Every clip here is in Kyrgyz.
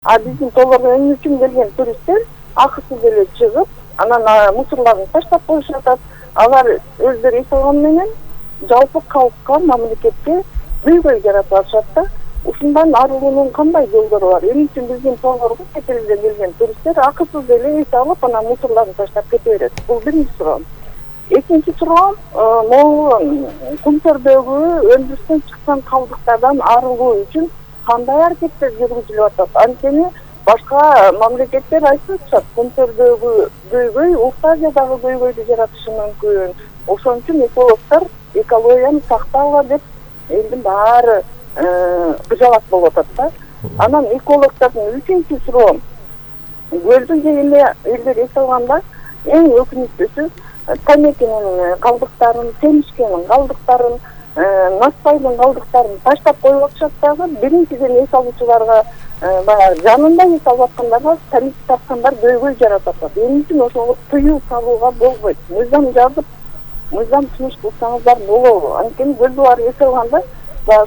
А биздин тоолорго эмне үчүн келген туристтер акысыз эле чыгып, анан мусорлорун таштап коюшуп атат. Алар өздөрү эс алган менен жалпы калкка, мамлекетке көйгөй жаратып атышат да. Ушундан арылуунун кандай жолдору бар? Эмне үчүн биздин тоолорго чет элден келген туристтер акысыз эле эс алып, анан мусорлорун таштап кете берет? Бул биринчи суроом. Экинчи суроом, могу Кумтөрдөгү өндүрүштөн чыккан калдыктардан арылуу үчүн кандай аракеттер жүргүзүлүп атат? Анткени башка мамлекеттер айтып атышат, Кумтөрдөгү көйгөй Орто Азиядагы көйгөйдү жаратышы мүмкүн. Ошон үчүн экологдор экологияны сактагыла деп элдин баары кыжалак болуп атат да. Анан экологдордун үчүнчү суроом, көлдү элдер эс алганда эң өкүнүктүүсү тамекинин калдыктарын, темишкенин калдыктарын, наспайдын калдыктарын таштап коюп атышат дагы. Биринчиден эс алуучуларга, баягы жанында эс алып аткандарга тамеки тарткандар көйгөй жаратып атат. Эмне үчүн ошого тыюу салууга болбойт? Мыйзам жазып, мыйзам түзүш кылсаңыздар болобу? Анткени көлдү баары эс алганда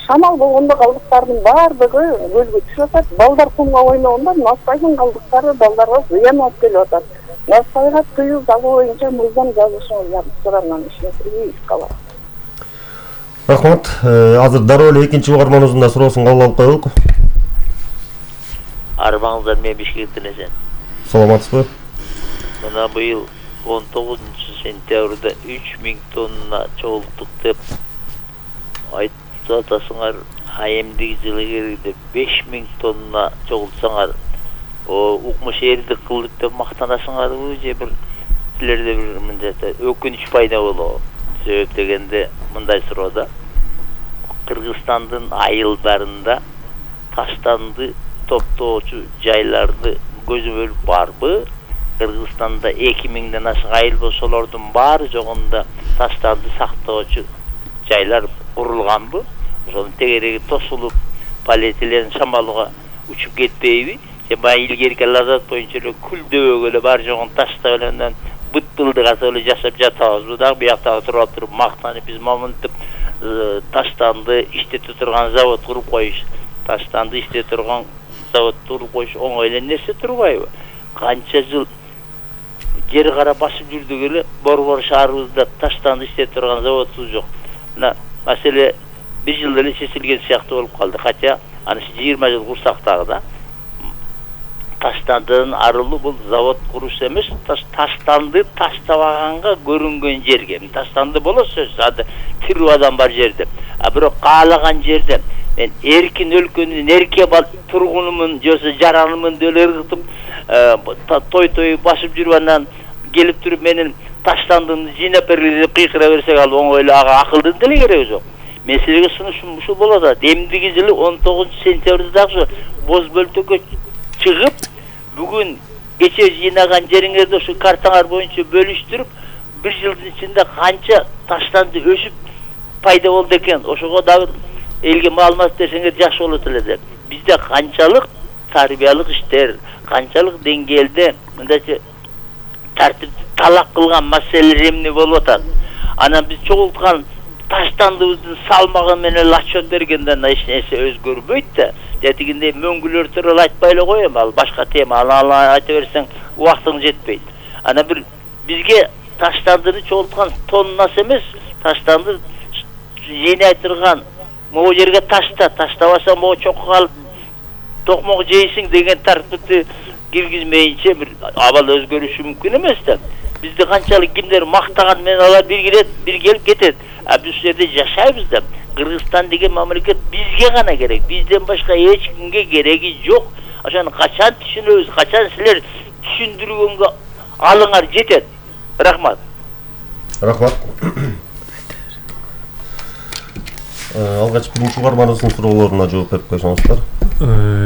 шамал болгондо калдыктардын баардыгы көлгө түшүп атат. Балдар кумга ойногондо наспайдын калдыктары балдарга зыян алып келип атат. Наспайга тыюу салуу боюнча мыйзам жазышыңызды суранам, ишенимизди калат. Рахмат. Азыр дароо эле экинчи угарманыбыздын да суроосун кабыл алып коелук. Арбаңыздар, мен Бишкектен эсен. Саламатсызбы? Мына быйыл 19-сентябрда 3000 тонна чогулттук деп айтып атасыңар. Эмдиги жылы келгенде 5000 тонна чогултсаңар, укмуш эрдик кылдык деп мактанасыңарбы же бир силерде бир мындай өкүнүч пайда болобу? Себеп дегенде мындай суроода, Кыргызстандын айылдарында таштанды топтоочу жайларды көзөмөл барбы? Кыргызстанда 2000ден ашык айыл болсо, ошолордун баары жогунда таштанды сактоочу жайлар курулганбы? Ошонун тегереги тосулуп, полиэтилен шамалга учуп кетпейби? Же баягы илгерки лазат боюнча эле күлдөбөгө эле бар жогун таштап эле быт-былдык асып эле жашап жатабызбы? Дагы бияктагы туруп мактанып, биз момунтип таштанды иштете турган завод куруп коюш, таштанды иштете турган заводду куруп коюш оңой эле нерсе турбайбы? Канча жыл жер кара басып жүрдүк эле, Борбор шаарыбызда таштанды иштете турган заводубуз жок. Мына маселе бир жылда эле чечилген сыяктуу болуп калды. Кача аны 20 жыл курсак дагы да. Таштандын арылуу бул завод куруш эмес, таштанды таштабаганга көрүнгөн жерге. Таштанды болот сөзсүз, ада тирүү адам бар жерде. А бирок каалаган жерде мен эркин өлкөнүн эрке тургунумун, жоосо жаранымын деп эле ыргытып, той басып жүрүп анан келип туруп менин таштандымды жыйнап бергиле деп кыйкыра берсек, ал оңой эле ага акылдын деле кереги жок. Мен силерге сунушум ушул болот. Эмдиги жылы 19-сентябрда дагы боз бөлтөккө чыгып, бүгүн кече жыйнаган жериңерди ушу картаңар боюнча бөлүштүрүп, бир жылдын ичинде канча таштанды өсүп пайда болду экен, ошого дагы элге маалымат берсеңер жакшы болот эле деп. Бизде канчалык тарбиялык иштер, канчалык деңгээлде мындайча тартипти талак кылган маселелер эмне болуп атат. Анан биз чогулткан таштандыбыздын салмагы менен отчет бергенде эч нерсе өзгөрбөйт да. Тетигинде мөңгүлөр тууралуу айтпай эле коем, ал башка тема, аны айта берсең убактың жетпейт. Анан бир бизге таштандыны чогулткан тоннасы эмес, таштанды жыйнай турган могу жерге таштабаса могу чокко калып токмок жейсиң деген тартипти киргизмейинче бир абал өзгөрүшү мүмкүн эмес да. Бизди канчалык кимдер мактаган менен алар бир келип кетет. А биз жерде жашайбыз да. Кыргызстан деген мамлекет бизге гана керек. Бизден башка эч кимге кереги жок. Ошону качан түшүнөбүз, качан силер түшүндүргөнгө алыңар жетет. Рахмат. Рахмат. Алгач биринчи угарманыбыздын суроолоруна жооп берип койсоңуздар.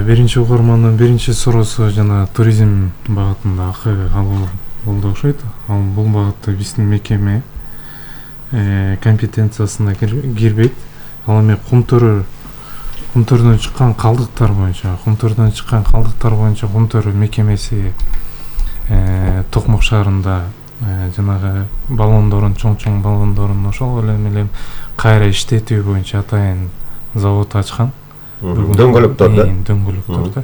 Биринчи угармандын биринчи суроосу жана туризм багытында алуу болду окшойт. Ал бул багытта биздин мекеме компетенциясына кирбейт. Ал эми Кумтөрдөн чыккан калдыктар боюнча, Кумтөр мекемеси Токмок шаарында жанагы баллондорун, чоң баллондорун ошол эле кайра иштетүү боюнча атайын завод ачкан. Дөңгөлөктөр да. Дөңгөлөктөр да.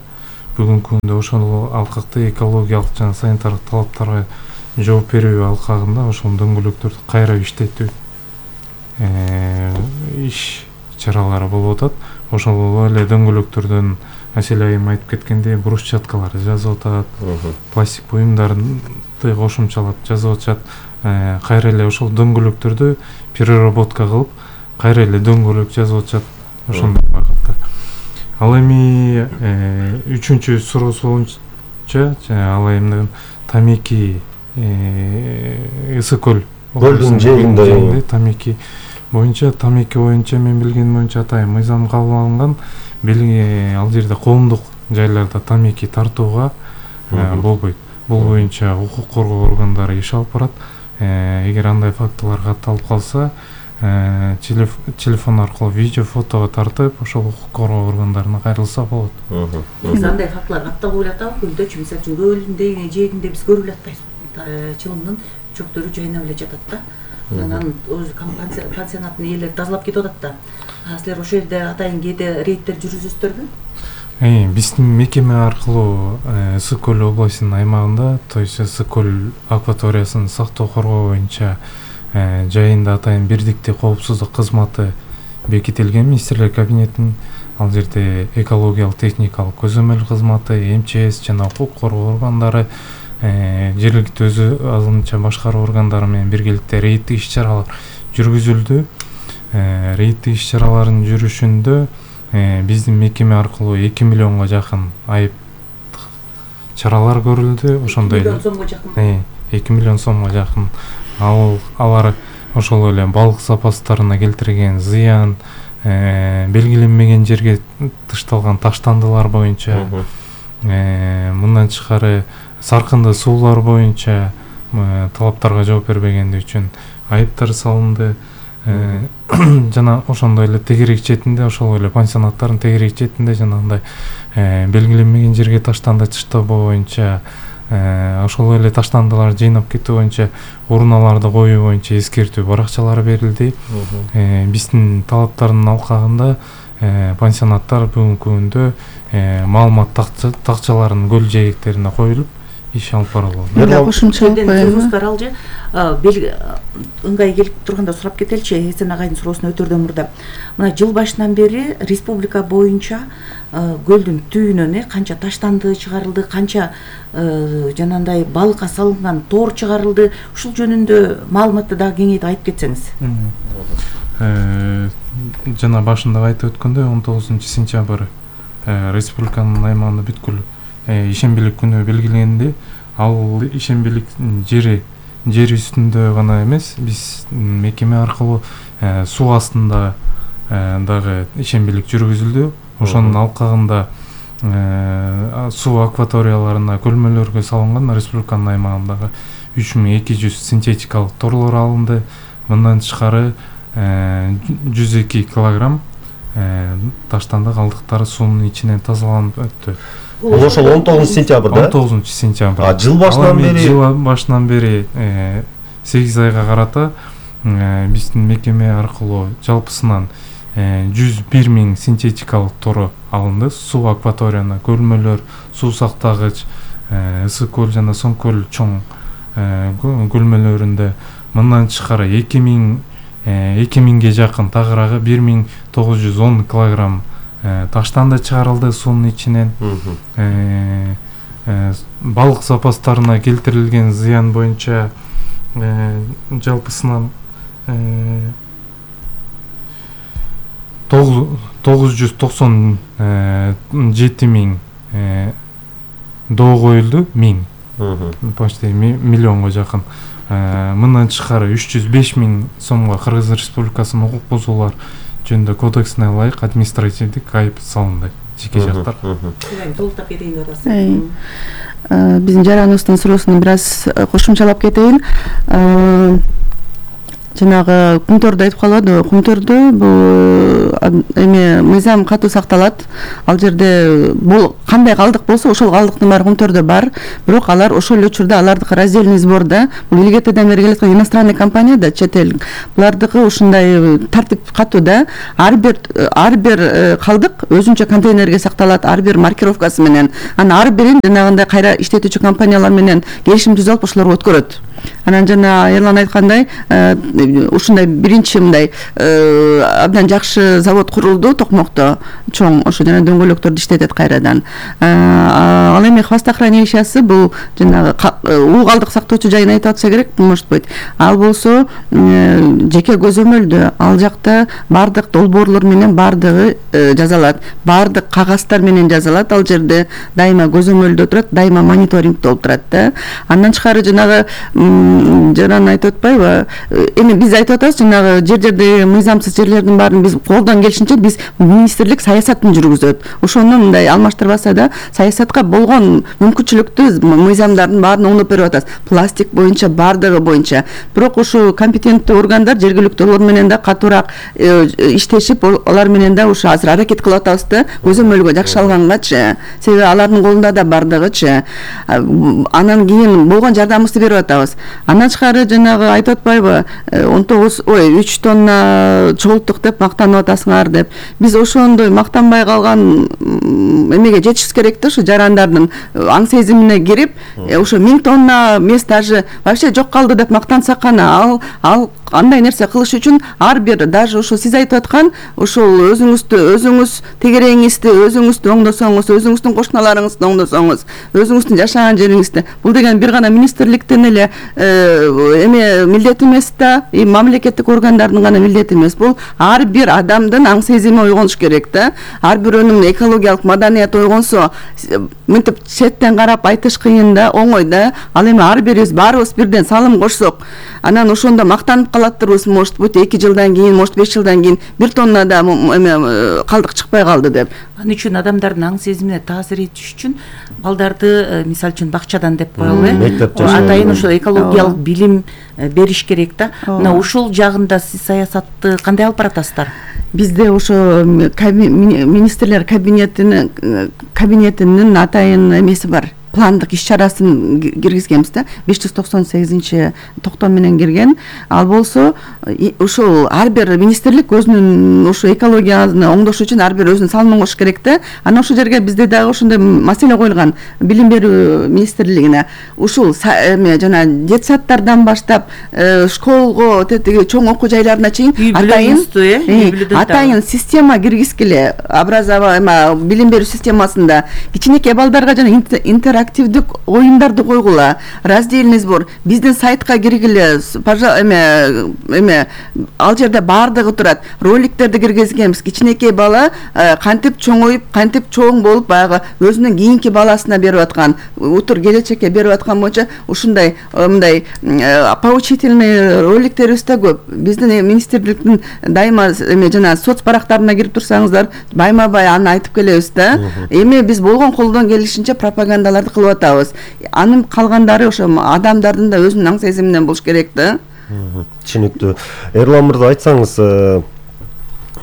бүгүнкү күндө ошол алкакты экологиялык жана санитардык талаптарга жооп берүү алкагында ошол дөңгөлөктөрдү кайра иштетүү иш чаралары болуп атат. Ошол эле дөңгөлөктөрдөн Асель айым айтып кеткендей брусчаткалар жазып атат, пластик буюмдарды кошумчалап жазып атышат. Кайра эле ошол дөңгөлөктөрдү переработка кылып, кайра эле дөңгөлөк жазып атышат. Ошондой багытта. Ал эми үчүнчү суроосу боюнча ал айымдын тамеки Ысык көл көлдүн жээгинде тамеки боюнча мен билгеним боюнча атайын мыйзам кабыл алынган. Ал жерде коомдук жайларда тамеки тартууга болбойт. Бул боюнча укук коргоо органдары иш алып барат. Эгер андай фактылар катталып калса, телефон аркылуу видео, фотого тартып, ошол укук коргоо органдарына кайрылса болот. Андай фактылар катталып атабы көлдө, мисалы үчүн көлдүн жээгинде биз көрүп эле атпайбыз. Чылымдын чөктөрү жайнап эле жатат да. Анан өзү пансионаттын ээлери тазалап кетип атат да. Силер ошол жерде атайын кээде рейдтер жүргүзөсүздөрбү? Биздин мекеме аркылуу Ысык көл областынын аймагында, то есть Ысык көл акваториясын сактоо коргоо боюнча жайында атайын бирдиктүү коопсуздук кызматы бекитилген министрлер кабинетинин. Ал жерде экологиялык техникалык көзөмөл кызматы, МЧС жана укук коргоо органдары, жергиликтүү өзү азырынча башкаруу органдары менен биргеликте рейдтик иш-чаралар жүргүзүлдү. Рейдтик иш-чаралардын жүрүшүндө биздин мекеме аркылуу 2 миллионго жакын айып чаралар көрүлдү. Ошондой 2 миллион сомго жакын. 2 миллион сомго жакын. Алар ошол эле балык запастарына келтирген зыян, белгиленмеген жерге тышталган таштандылар боюнча, мындан тышкары саркынды суулар боюнча талаптарга жооп бербегендиги үчүн айыптар салынды. Жана ошондой эле тегерек четинде, ошол эле пансионаттардын тегерек четинде жанагындай белгиленмеген жерге таштанды таштоо боюнча, ошол эле таштандыларды жыйнап кетүү боюнча уруналарды коюу боюнча эскертүү баракчалары берилди. Биздин талаптардын алкагында пансионаттар бүгүнкү күндө маалымат такчаларынын көл жээгектерине коюлуп иш алып барылат. Кошумчалап коебу? Ыңгай келип турганда сурап кетеличи, Эсен агайдын суроосуна өтөрдөн мурда. Мына жыл башынан бери республика боюнча көлдүн түбүнөн канча таштанды чыгарылды, канча жанагындай балыкка салынган тоор чыгарылды, ушул жөнүндө маалыматты дагы кеңейтип айтып кетсеңиз. Жана башында айтып өткөндөй 19-сентябрь республиканын аймагында бүткүл ишембилик күнү белгиленди. Ал ишембилик жер үстүндө гана эмес, биз мекеме аркылуу суу астында дагы ишембилик жүргүзүлдү. Ошонун алкагында суу акваторияларына, көлмөлөргө салынган республиканын аймагындагы 3200 синтетикалык торлор алынды. Мындан тышкары 102 килограмм таштанды калдыктары суунун ичинен тазаланып өттү. Ошол 19-сентябрда? 19-сентябрда. Жыл башынан бери 8 айга карата биздин мекеме аркылуу жалпысынан 101 000 синтетикалык тору алынды. Суу акваторияна, көлмөлөр, суу сактагыч, Ысык көл жана Соң көл чоң көлмөлөрүндө мындан тышкары 2000ге жакын тагыраагы 1910 килограмм таштанды чыгарылды суунун ичинен. Балык запастарына келтирилген зыян боюнча жалпысынан 997 000 доо коюлду. 1000 почти миллионго жакын. Мындан тышкары 305 000 сомго Кыргыз Республикасынын укук бузуулар жөнүндө кодексине ылайык административдик айып салынды жеке жактар. Толуктап кетейин деп атасыз. Биздин жараныбыздын суроосуна бир аз кошумчалап кетейин. жанагы Кумторду айтып калбадыбы, Кумтордо бул эме мыйзам катуу сакталат. Ал жерде бул кандай калдык болсо ошол калдыктын баары Кумтордо бар, бирок алар ошол эле учурда алардыкы раздельный сборда, бул илгертеден бери келаткан иностранный компания да, чет эл, булардыкы ушундай тартип катуу да. Ар бир калдык өзүнчө контейнерге сакталат, ар бир маркировкасы менен. Анан ар бирин жанагындай кайра иштетүүчү компаниялар менен келишим түзүп ошолорго өткөрөт. Анан жана Эрлан айткандай, ушундай биринчи мындай абдан жакшы завод курулду Токмокто, чоң, ошо жана дөңгөлөктөрдү иштетет кайрадан. Ал эми хвостохранилищасы бул жанагы уу калдык сактоочу жайын айтып атса керек, может быть. Ал болсо жеке көзөмөлдө, ал жакта бардык долбоорлор менен бардыгы жазалат, бардык кагаздар менен жазалат. Ал жерде дайыма көзөмөлдө турат, дайыма мониторинг болуп турат да. Андан тышкары жанагы жаран айтып атпайбы, эми биз айтып атабыз, жанагы жердеги мыйзамсыз жерлердин баарын биз колдон келишинче биз министрлик саясатын жүргүзөт. Ошону мындай алмаштырбаса да, саясатка болгон мүмкүнчүлүктү мыйзамдардын баарын оңдоп берип атабыз. Пластик боюнча, бардыгы боюнча. Бирок ошо компетенттүү органдар жергиликтүү олар менен да катуураак иштешип, алар менен да ошо азыр аракет кылып атабыз да, көзөмөлгө жакшы алгангачы. Себеби алардын колунда да бардыгычы. Анан кийин болгон жардамыбызды берип атабыз. Андан тышкары жанагы айтып атпайбы, 3 тонна чогулттук деп мактанып атасыңар деп. Биз ошондой мактанбай калган эмеге жетишибиз керек да, ошо жарандардын аң сезимине кирип, ошо 1000 тонна эмес, даже вообще жок калды деп мактансак гана, ал андай нерсе кылыш үчүн ар бир, даже ошо сиз айтып аткан ошол өзүңүз тегереңизди өзүңүздү оңдосоңуз, өзүңүздүн кошуналарыңызды оңдосоңуз, өзүңүздүн жашаган жериңизди, бул деген бир гана министрликтин эле эме милдети эмес да, мамлекеттик органдардын гана милдети эмес. Бул ар бир адамдын аң сезими ойгонуш керек да. Ар бирөөнүн экологиялык маданият ойгонсо, мынтип четтен карап айтыш кыйын да, оңой да. Ал эми ар бирибиз баарыбыз бирден салым кошсок, анан ошондо мактанып калаттырбыз, может быть 2 жылдан кийин, может 5 жылдан кийин 1 тонна да эме калдык чыкпай калды деп. Ал үчүн адамдардын аң сезимине таасир этиш үчүн балдарды мисалы үчүн бакчадан деп коелу, атайын ошо экологиялык билим бериш керек да. Мына ушул жагында сиз саясатты кандай алып баратасыздар? Бизде ошо министрлер кабинетинин атайын эмеси бар. Пландык иш-чарасын киргизгенбиз да, 598-токтом менен кирген. Ал болсо ушул ар бир министрлик өзүнүн ошо экологияны оңдош үчүн ар бир өзүнүн салымын кошуш керек да. Анан ошол жерге бизде дагы ошондой маселе коюлган, билим берүү министрлигине. Ушул эме жана детсадтардан баштап школго, тетиги чоң окуу жайларына чейин атайын система киргизгиле, билим берүү системасында кичинекей балдарга жана активдик оюндарды койгула, раздельный сбор, биздин сайтка киргиле, эме ал жерде бардыгы турат, роликтерди киргизгенбиз. Кичинекей бала кантип чоңоюп, кантип чоң болуп, баягы өзүнүн кийинки баласына берип аткан, утур келечекке берип аткан боюнча ушундай мындай поучительный роликтерибиз да көп. Биздин министрликтин дайыма эме жана соц барактарына кирип турсаңыздар, байма-бай аны айтып келебиз да. Эми биз болгон колдон келишинче пропагандаларды кылып атабыз. Анын калгандары ошо адамдардын да өзүнүн аң сезиминен болуш керек да. Түшүнүктүү. Эрлан мырза, айтсаңыз,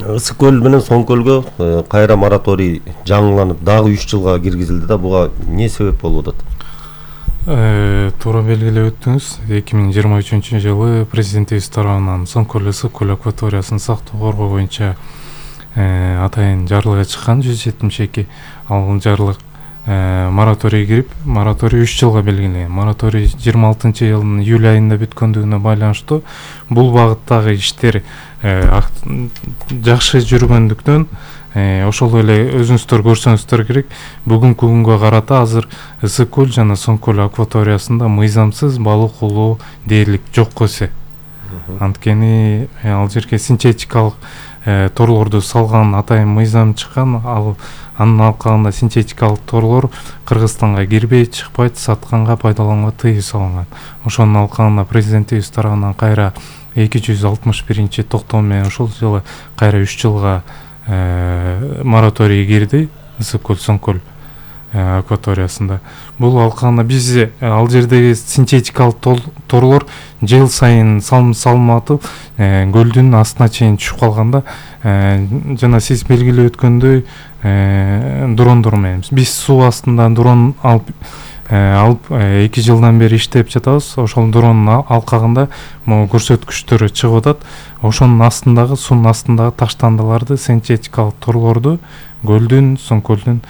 Ысык көл менен Соң көлгө кайра мораторий жаңыланып дагы 3 жылга киргизилди да, буга эмне себеп болуп атат? Туура белгилеп өттүңүз. 2023-жылы президентибиз тарабынан Соң көл ысык көл акваториясын сактоо коргоо боюнча атайын жарлык чыккан 172. Ал жарлык мораторий кирип, мораторий 3 жылга белгиленген. Мораторий 26-жылдын июль айында бүткөндүгүнө байланыштуу бул багыттагы иштер жакшы жүргөндүктөн ошол эле өзүңүздөр көрсөңүздөр керек, бүгүнкү күнгө карата азыр Ысык көл жана Соң көл акваториясында мыйзамсыз балык улоо дээрлик жокко эсе. Анткени ал жерге синтетикалык торлорду салган атайын мыйзам чыккан, анын алкагында синтетикалык торлор Кыргызстанга кирбей, чыкпайт, сатканга, пайдаланганга тыюу салынган. Ошонун алкагында президентибиз тарабынан кайра 261-токтом менен ошол жылы кайра 3 жылга мораторий кирди Ысык көл Соң көл акваториясында. Бул алкагында биз ал жердеги синтетикалык торлор жыл сайын салынып көлдүн астына чейин түшүп калганда, жана сиз белгилеп өткөндөй дрондор менен биз суу астында дрон алып 2 жылдан бери иштеп жатабыз. Ошол дронун алкагында могу көрсөткүчтөрү чыгып атат. Ошонун астындагы суунун астындагы таштандыларды, синтетикалык торлорду көлдүн, Соң-көлдүн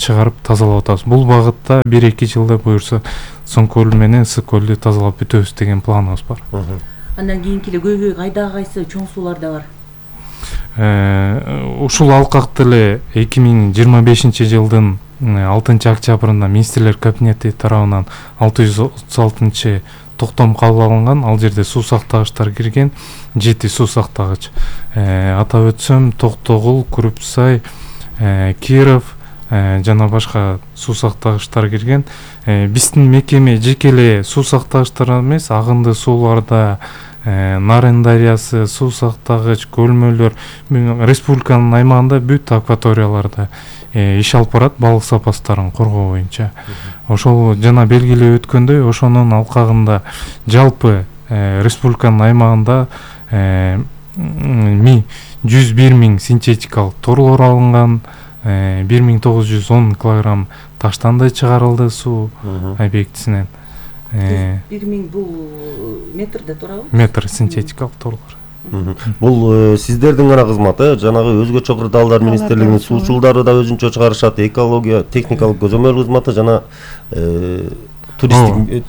чыгарып тазалап атабыз. Бул багытта 1-2 жылда буюрса Соң-көл менен Ысык-көлдү тазалап бүтөбүз деген планыбыз бар. Андан кийинки эле көйгөй кайдагы кайсы чоң сууларда бар? Ушул алкакты эле 2025 жылдын 6 октябрында Министрлер кабинети тарабынан 636 токтом кабыл алынган. Ал жерде суу сактагычтар кирген, 7 суу сактагыч. Атап өтсөм, Токтогул, Күрүпсай, Киров жана башка суу сактагычтар кирген. Биздин мекеме жеке эле суу сактагычтар эмес, агынды сууларда Нарын дарыясы, суу сактагыч, көлмөлөр, республиканын аймагында бүт акваторияларда иш алып барат балык запастарын коргоо боюнча. Ошол жана белгилеп өткөндөй, ошонун алкагында жалпы республиканын аймагында 101 000 синтетикалык торлор алынган, 1910 килограмм таштанды чыгарылды суу объектисинен. 1000 бул метрде туурабы? Метр синтетикалык торлор. Бул сиздердин гана кызматы, жанагы өзгөчө кырдаалдар министрлигинин суучулдары да өзүнчө чыгарышат, экология техникалык көзөмөл кызматы жана туристтик.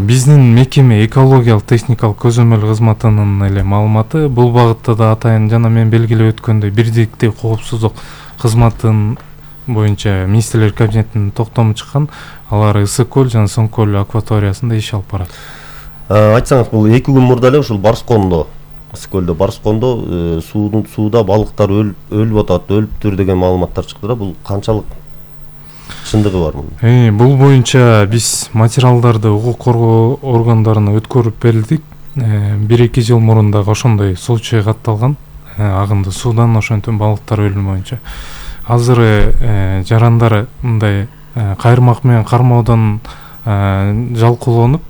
Биздин мекеме экологиялык техникалык көзөмөл кызматынын эле маалыматы. Бул багытта да атайын жана мен белгилеп өткөндөй бирдиктүү коопсуздук кызматынын боюнча Министрлер кабинетинин токтому чыккан. Алар Ысык-көл жана Соң-көл акваториясында иш алып барат. Айтсаңыз, бул 2 күн мурда эле ушул Барскондо, Ысык-көлдө Барскондо сууда балыктар өлүп атат, өлүптүр деген маалыматтар чыкты да. Бул канчалык чындыгы бар мунун? Бул боюнча биз материалдарды укук коргоо органдарына өткөрүп берилдик. 1-2 жыл мурун дагы ошондой случай катталган. Агынды суудан ошентип балыктар өлүмү боюнча. Азыр жарандар мындай кайырмак менен кармоодон жалкоолонуп,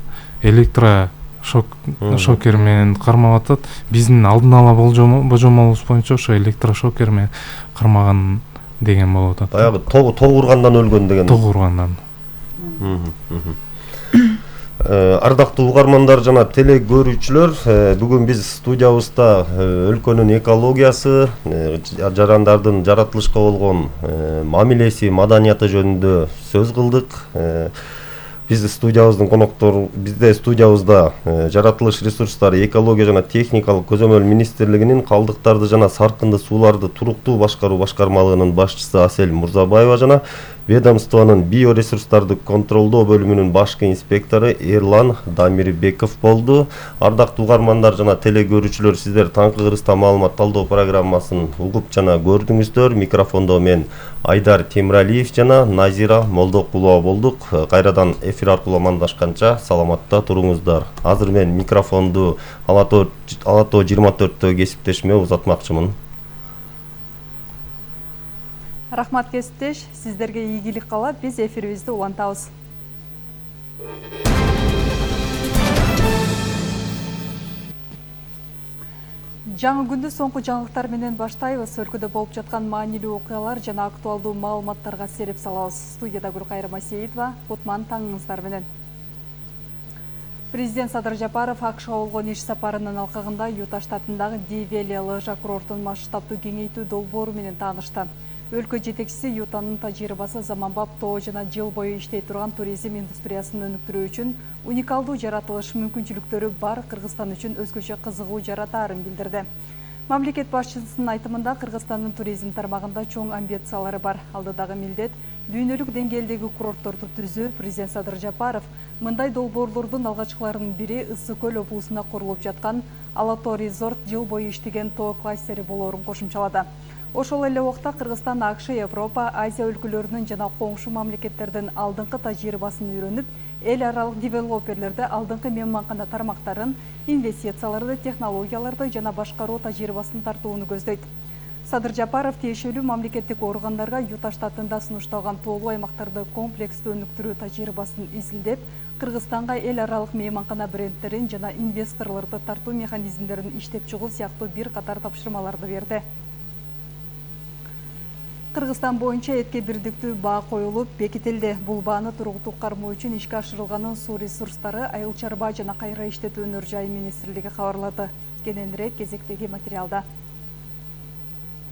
электрошокер менен кармап атат. Биздин алдын ала божомолубуз боюнча ошо электрошокер менен кармаган деген болуп атат. Баягы тог ургандан өлгөн деген. Тог ургандан. Ардактуу угармандар жана теле көрүүчүлөр, бүгүн биз студиябызда өлкөнүн экологиясы, жарандардын жаратылышка болгон мамилеси, маданияты жөнүндө сөз кылдык. Бизде студиябызда жаратылыш ресурстары, экология жана техникалык көзөмөл министрлигинин калдыктарды жана саркынды сууларды туруктуу башкаруу башкармалыгынын башчысы Асель Мурзабаева жана ведомствонун биоресурстарды контролдоо бөлүмүнүн башкы инспектору Эрлан Дамирбеков болду. Ардактуу угармандар жана теле көрүүчүлөр, сиздер таңкы кыргызстан маалымат талдоо программасын угуп жана көрдүңүздөр. Микрофондо мен Айдар Темиралиев жана Назира Молдокулова болдук. Кайрадан эфир аркылуу амандашканча саламатта туруңуздар. Азыр мен микрофонду Алато 24-тө кесиптешиме узатмакчымын. Рахмат кесиптеш, сиздерге ийгилик каалап, биз эфирибизди улантабыз. Жаңы күндү соңку жаңылыктар менен баштайбыз. Өлкөдө болуп жаткан маанилүү окуялар жана актуалдуу маалыматтарга сереп салабыз. Студияда Гүлкайыр Масеитова, Кутман таңыңыздар менен. Президент Садыр Жапаров АКШга болгон иш сапарынын алкагында Юта штатындагы Ди-Вели лыжа курортун масштабтуу кеңейтүү долбоору менен таанышты. Өлкө жетекчиси Ютанын тажрыйбасы заманбап тоо жана жыл бою иштей турган туризм индустриясын өнүктүрүү үчүн уникалдуу жаратылыш мүмкүнчүлүктөрү бар Кыргызстан үчүн өзгөчө кызыгуу жаратаарын билдирди. Мамлекет башчысынын айтымында Кыргызстандын туризм тармагында чоң амбициялары бар. Алдыдагы милдет дүйнөлүк деңгээлдеги курортторду түзүү. Президент Садыр Жапаров мындай долбоорлордун алгачкыларынын бири Ысык-көл облусунда курулуп жаткан Алато Резорт жыл бою иштеген тоо кластери болоорун кошумчалады. Ошол эле убакта Кыргызстан АКШ, Европа, Азия өлкөлөрүнүн жана коңшу мамлекеттердин алдыңкы тажрыйбасын үйрөнүп, эл аралык девелоперлерде алдыңкы мейманкана тармактарын, инвестицияларды, технологияларды жана башкаруу тажрыйбасын тартууну көздөйт. Садыр Жапаров тиешелүү мамлекеттик органдарга Юта штатында сунушталган тоолуу аймактарды комплекстүү өнүктүрүү тажрыйбасын изилдеп, Кыргызстанга эл аралык мейманкана брендтерин жана инвесторлорду тартуу механизмдерин иштеп чыгуу сыяктуу бир катар тапшырмаларды берди. Кыргызстан боюнча этке бирдиктүү баа коюлуп бекитилди. Бул бааны туруктуу кармоо үчүн ишке ашырылганын суу ресурстары, айыл чарба жана кайра иштетүү өнөр жайы министрлиги кабарлады. Кененирээк кезектеги материалда.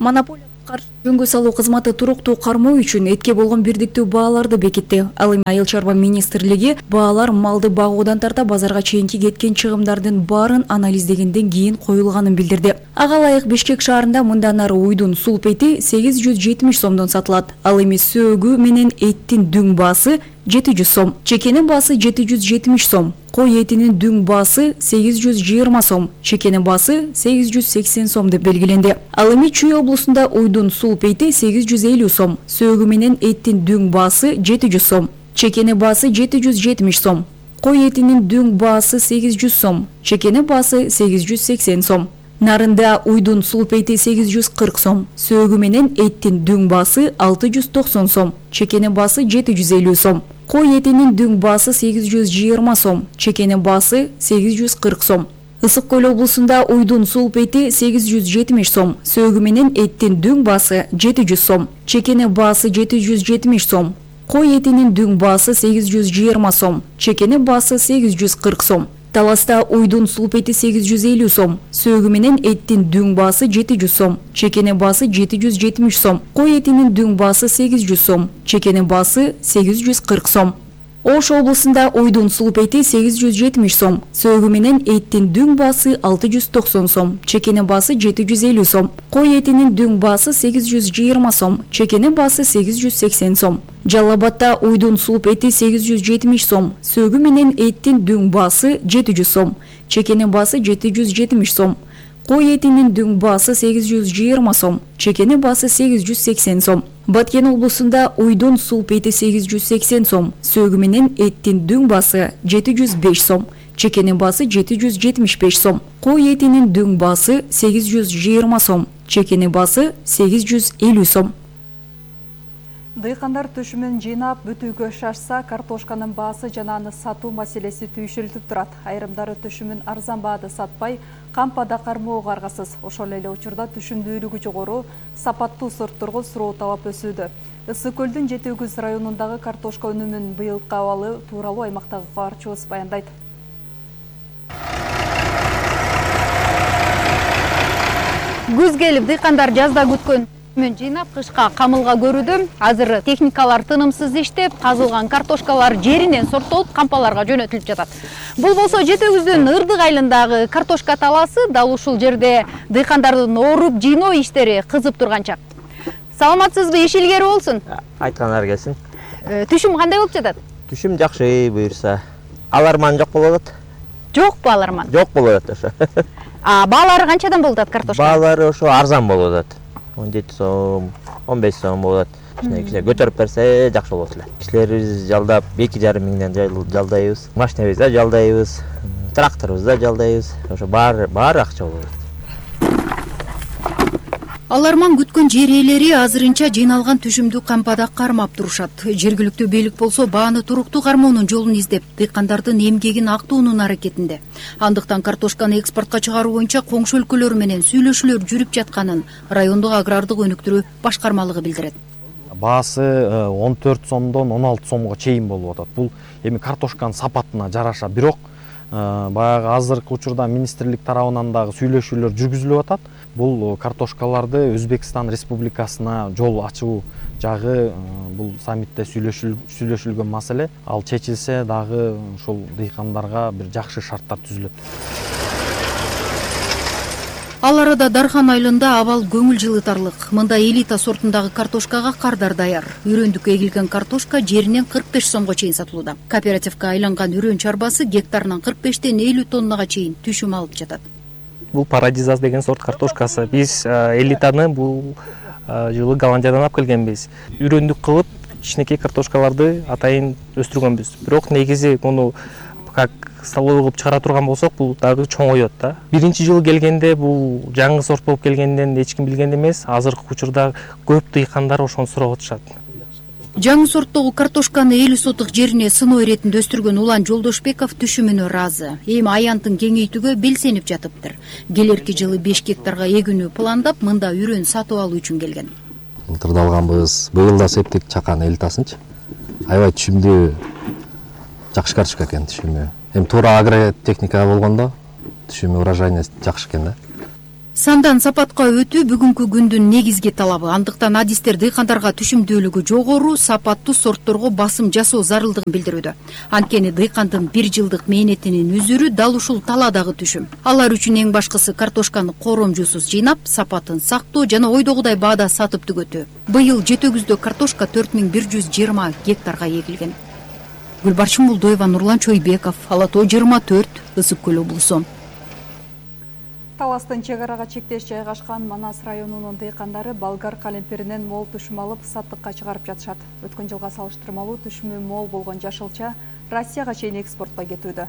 Монополия каршы жөнгө салуу кызматы туруктуу кармоо үчүн этке болгон бирдиктүү бааларды бекитти. Ал эми айыл чарба министрлиги баалар малды багуудан тарта базарга чейинки кеткен чыгымдардын баарын анализдегенден кийин коюлганын билдирди. Ага ылайык Бишкек шаарында мындан ары уйдун сулпети 870 сомдон сатылат. Ал эми сөөгү менен эттин дүң баасы 700 сом, чекенин баасы 770 сом, кой этинин дүң баасы 820 сом, чекенин баасы 880 сом деп белгиленди. Ал эми Чүй облусунда уйдун сулпейти 850 сом, сөөгү менен эттин дүң баасы 700 сом, чекенин баасы 770 сом, кой этинин дүң баасы 800 сом, чекенин баасы 880 сом. Нарында уйдун сулпейти 840 сом, сөөгү менен эттин дүң баасы 690 сом, чекенин баасы 750 сом, кой этинин дүң баасы 820 сом, чекенин баасы 840 сом. Ысык Көл облусунда уйдун сулпейти 870 сом, сөөгү менен эттин дүң баасы 700 сом, чекенин баасы 770 сом, кой этинин дүң баасы 820 сом, чекенин баасы 840 сом. Таласта уйдун сулпети 850 сом, сөөгү менен эттин дүң баасы 700 сом, чекенин баасы 770 сом, кой этинин дүң баасы 800 сом, чекенин баасы 840 сом. Ош облусунда уйдун сулпети 870 сом, сөөгү менен эттин дүң баасы 690 сом, чекенин баасы 750 сом, кой этинин дүң баасы 820 сом, чекенин баасы 880 сом. Жалал Абадта уйдун сулпети 870 сом, сөөгү менен эттин дүң баасы 700 сом, чекенин баасы 770 сом, кой этинин дүң баасы 820 сом, чекенин баасы 880 сом. Баткен облусунда уйдун сулпети 880 сом, сөөгү менен эттин дүң баасы 705 сом, чекенин баасы 775 сом, кой этинин дүң баасы 820 сом, чекенин баасы 850 сом. Дыйкандар түшүмүн жыйнап бүтүүгө шашса, картошканын баасы жана аны сатуу маселеси түйшүлтүп турат. Айрымдары түшүмүн арзан баада сатпай, кампада кармоого аргасыз. Ошол эле учурда түшүмдүүлүгү жогору сапаттуу сортторго суроо талап өсүүдө. Ысык Көлдүн Жети Өгүз районундагы картошка өнүмүнүн быйылкы абалы тууралуу аймактагы кабарчыбыз баяндайт. Күз келип, дыйкандар жазда күткөн түшүмүн жыйнап, кышка камылга көрүүдө. Азыр техникалар тынымсыз иштеп, казылган картошкалар жеринен сорттолуп, кампаларга жөнөтүлүп жатат. Бул болсо Жети Өгүздүн Ырдык айылындагы картошка талаасы, дал ушул жерде дыйкандардын оруп жыйноо иштери кызып турган чак. Саламатсызбы, иш илгери болсун. Айткандар келсин. Түшүм кандай болуп жатат? Түшүм жакшы, буюрса. Аларман жок болуп атат. Жокпу аларман? Жок болуп атат ошо. Баалары канчадан болуп атат картошка? Баалары ошо арзан болуп атат. 17 сом, 15 сом болот. Кичине көтөрүп берсе жакшы болот эле. Кишилерибиз жалдап 2,5 миңден жалдайбыз. Машинабызды жалдайбыз, тракторубузду жалдайбыз. Ошо баары акча болот. Аларман күткөн жер ээлери азырынча жыйналган түшүмдү кампада кармап турушат. Жергиликтүү бийлик болсо бааны туруктуу кармоонун жолун издеп, дыйкандардын эмгегин актоонун аракетинде. Андыктан картошканы экспортко чыгаруу боюнча коңшу өлкөлөр менен сүйлөшүүлөр жүрүп жатканын райондук агрардык өнүктүрүү башкармалыгы билдирет. Баасы 14 сомдон 16 сомго чейин болуп атат. Бул эми картошканын сапатына жараша, бирок баягы азыркы учурда министрлик тарабынан дагы сүйлөшүүлөр жүргүзүлүп атат. Бул картошкаларды Өзбекстан Республикасына жол ачуу жагы бул саммитте сүйлөшүлгөн маселе. Ал чечилсе дагы ушул дыйкандарга бир жакшы шарттар түзүлөт. Ал арада Дархан айылында абал көңүл жылытарлык. Мында элита сортундагы картошкага кардар даяр. Үрөндүк эгилген картошка жеринен 45 сомго чейин сатылууда. Кооперативге айланган үрөн чарбасы гектарынан 45тен 50 тоннага чейин түшүм алып жатат. Бул Парадизас деген сорт картошкасы. Биз элитаны бул жылы Голландиядан алып келгенбиз. Үрөндүк кылып кичинекей картошкаларды атайын өстүргөнбүз. Бирок негизи муну как столовый кылып чыгара турган болсок, бул дагы чоңоет да. Биринчи жылы келгенде бул жаңы сорт болуп келгенден эч ким билген эмес. Азыркы учурда көп дыйкандар ошону сурап атышат. Жаңы сорттогу картошканы 50 сотук жерине сыноо иретинде өстүргөн Улан Жолдошбеков түшүмүнө ыраазы. Эми аянтын кеңейтүүгө белсенип жатыптыр. Келерки жылы 5 гектарга эгүүнү пландап, мында үрөн сатып алуу үчүн келген. Былтырда алганбыз, быйыл да септик чакан 50-тасынчы. Аябай түшүмдүү жакшы картошка экен түшүмү. Эми туура агротехника болгондо түшүмү урожайный жакшы экен да. Сандан сапатка өтүү бүгүнкү күндүн негизги талабы. Андыктан адистер дыйкандарга түшүмдүүлүгү жогору, сапаттуу сортторго басым жасоо зарылдыгын билдирүүдө. Анткени дыйкандын 1 жылдык мээнетинин үзүрү дал ушул таладагы түшүм. Алар үчүн эң башкысы картошканы коромжусуз жыйнап, сапатын сактоо жана ойдогудай баада сатып түгөтүү. Быйыл Жетөгүздө картошка 4120 гектарга эгилген. Гүлбарчын Булдоева, Нурлан Чойбеков, Ала Тоо 24, Ысык Көл облусу. Таластын чек арага чектеш жайгашкан Манас районунун дыйкандары болгар калемпиринен мол түшүм алып саттыкка чыгарып жатышат. Өткөн жылга салыштырмалуу түшүмү мол болгон жашылча Россияга чейин экспортко кетүүдө.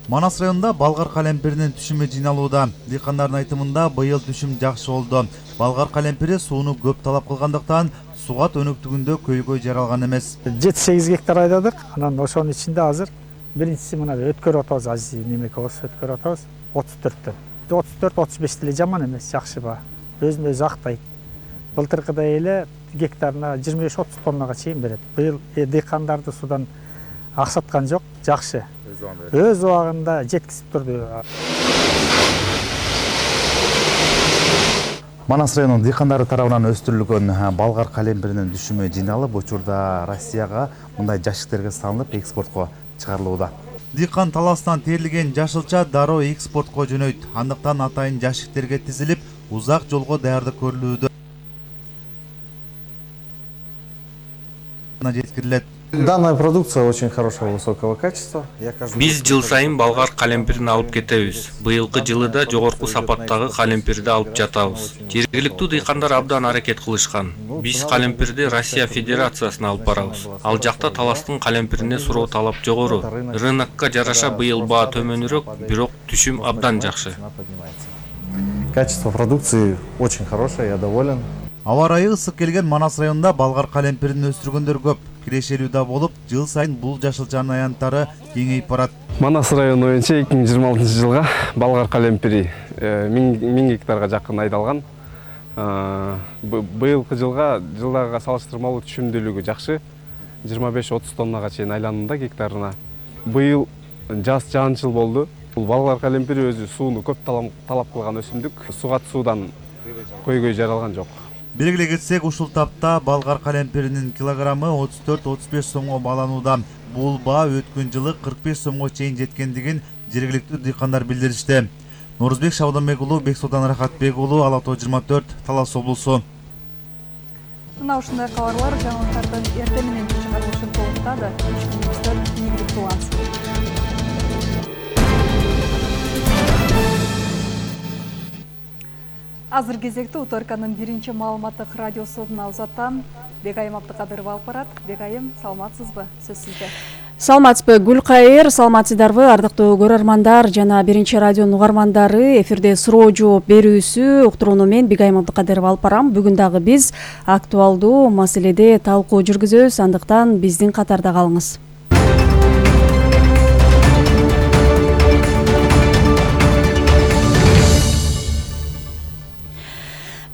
Манас районунда болгар калемпиринин түшүмү жыйналууда. Дыйкандардын айтымында быйыл түшүм жакшы болду. Болгар калемпири сууну көп талап кылгандыктан сугат өнүктүгүндө көйгөй жаралган эмес. 7-8 гектар айдадык. Анан ошонун ичинде азыр биринчиси мына өткөрүп атабыз, азиз немекебиз өткөрүп атабыз 34төн. 34-35 деле жаман эмес, жакшы баа. Өзүн өзү актайт. Былтыркыдай эле гектарына 25-30 тоннага чейин берет. Быйыл дыйкандарды судан аксаткан жок, жакшы. Өз убагында жеткизип турду. Манас районунун дыйкандары тарабынан өстүрүлгөн болгар калемпиринин түшүмү жыйналып, учурда Россияга мындай жашиктерге салынып экспортко чыгарылууда. Дыйкан таластан терилген жашылча дароо экспортко жөнөйт. Андыктан атайын жашиктерге тизилип, узак жолго даярдык көрүлүүдө. Жеткирилет. Данная продукция очень хорошего, высокого качества. Биз жыл сайын болгар калемпирин алып кетебиз. Быйылкы жылы да жогорку сапаттагы калемпирди алып жатабыз. Жергиликтүү дыйкандар абдан аракет кылышкан. Биз калемпирди Россия Федерациясына алып барабыз. Ал жакта таластын калемпирине суроо талап жогору. Рынокко жараша быйыл баа төмөнүрөөк, бирок түшүм абдан жакшы. Качество продукции очень хорошее, я доволен. Аба ырайы ысык келген Манас районунда болгар калемпирин өстүргөндөр көп. Кирешелүү да болуп, жыл сайын бул жашылчанын аянттары кеңейип барат. Манас району боюнча 2026 жылга болгар калемпири 1000 гектарга жакын айдалган. Быйылкы жылдагыга салыштырмалуу түшүмдүүлүгү жакшы. 25-30 тоннага чейин айланууда гектарына. Быйыл жаз жаанчыл болду. Бул болгар калемпири өзү сууну көп талап кылган өсүмдүк. Сугат суудан көйгөй жаралган жок. Белгилей кетсек, ушул тапта болгар калемпиринин килограммы 34-35 сомго бааланууда. Бул баа өткөн жылы 45 сомго чейин жеткендигин жергиликтүү дыйкандар билдиришти. Нурузбек Шабданбек уулу, Бексултан Рахатбек уулу, Ала Тоо 24, Талас облусу. Мына ушундай кабарлар жаңылыктардын эртең менен чыгарылышын толуктады. Күнүңүздөр ийгилик кылгансыз. Азыр кезекте Уторканын биринчи маалыматтык радиосунан узаттан Бегайым Абдыкадырова алып барат. Бегайым, саламатсызбы? Сөз сизде. Саламатсызбы, Гүлкайыр, саламатсыздарбы, ардактуу көрөрмандар жана биринчи радионун угармандары. Эфирде суроо жооп берүүсү уктурууну мен Бегайым Абдыкадырова алып барам. Бүгүн дагы биз актуалдуу маселеде талкуу жүргүзөбүз, андыктан биздин катарда калыңыз.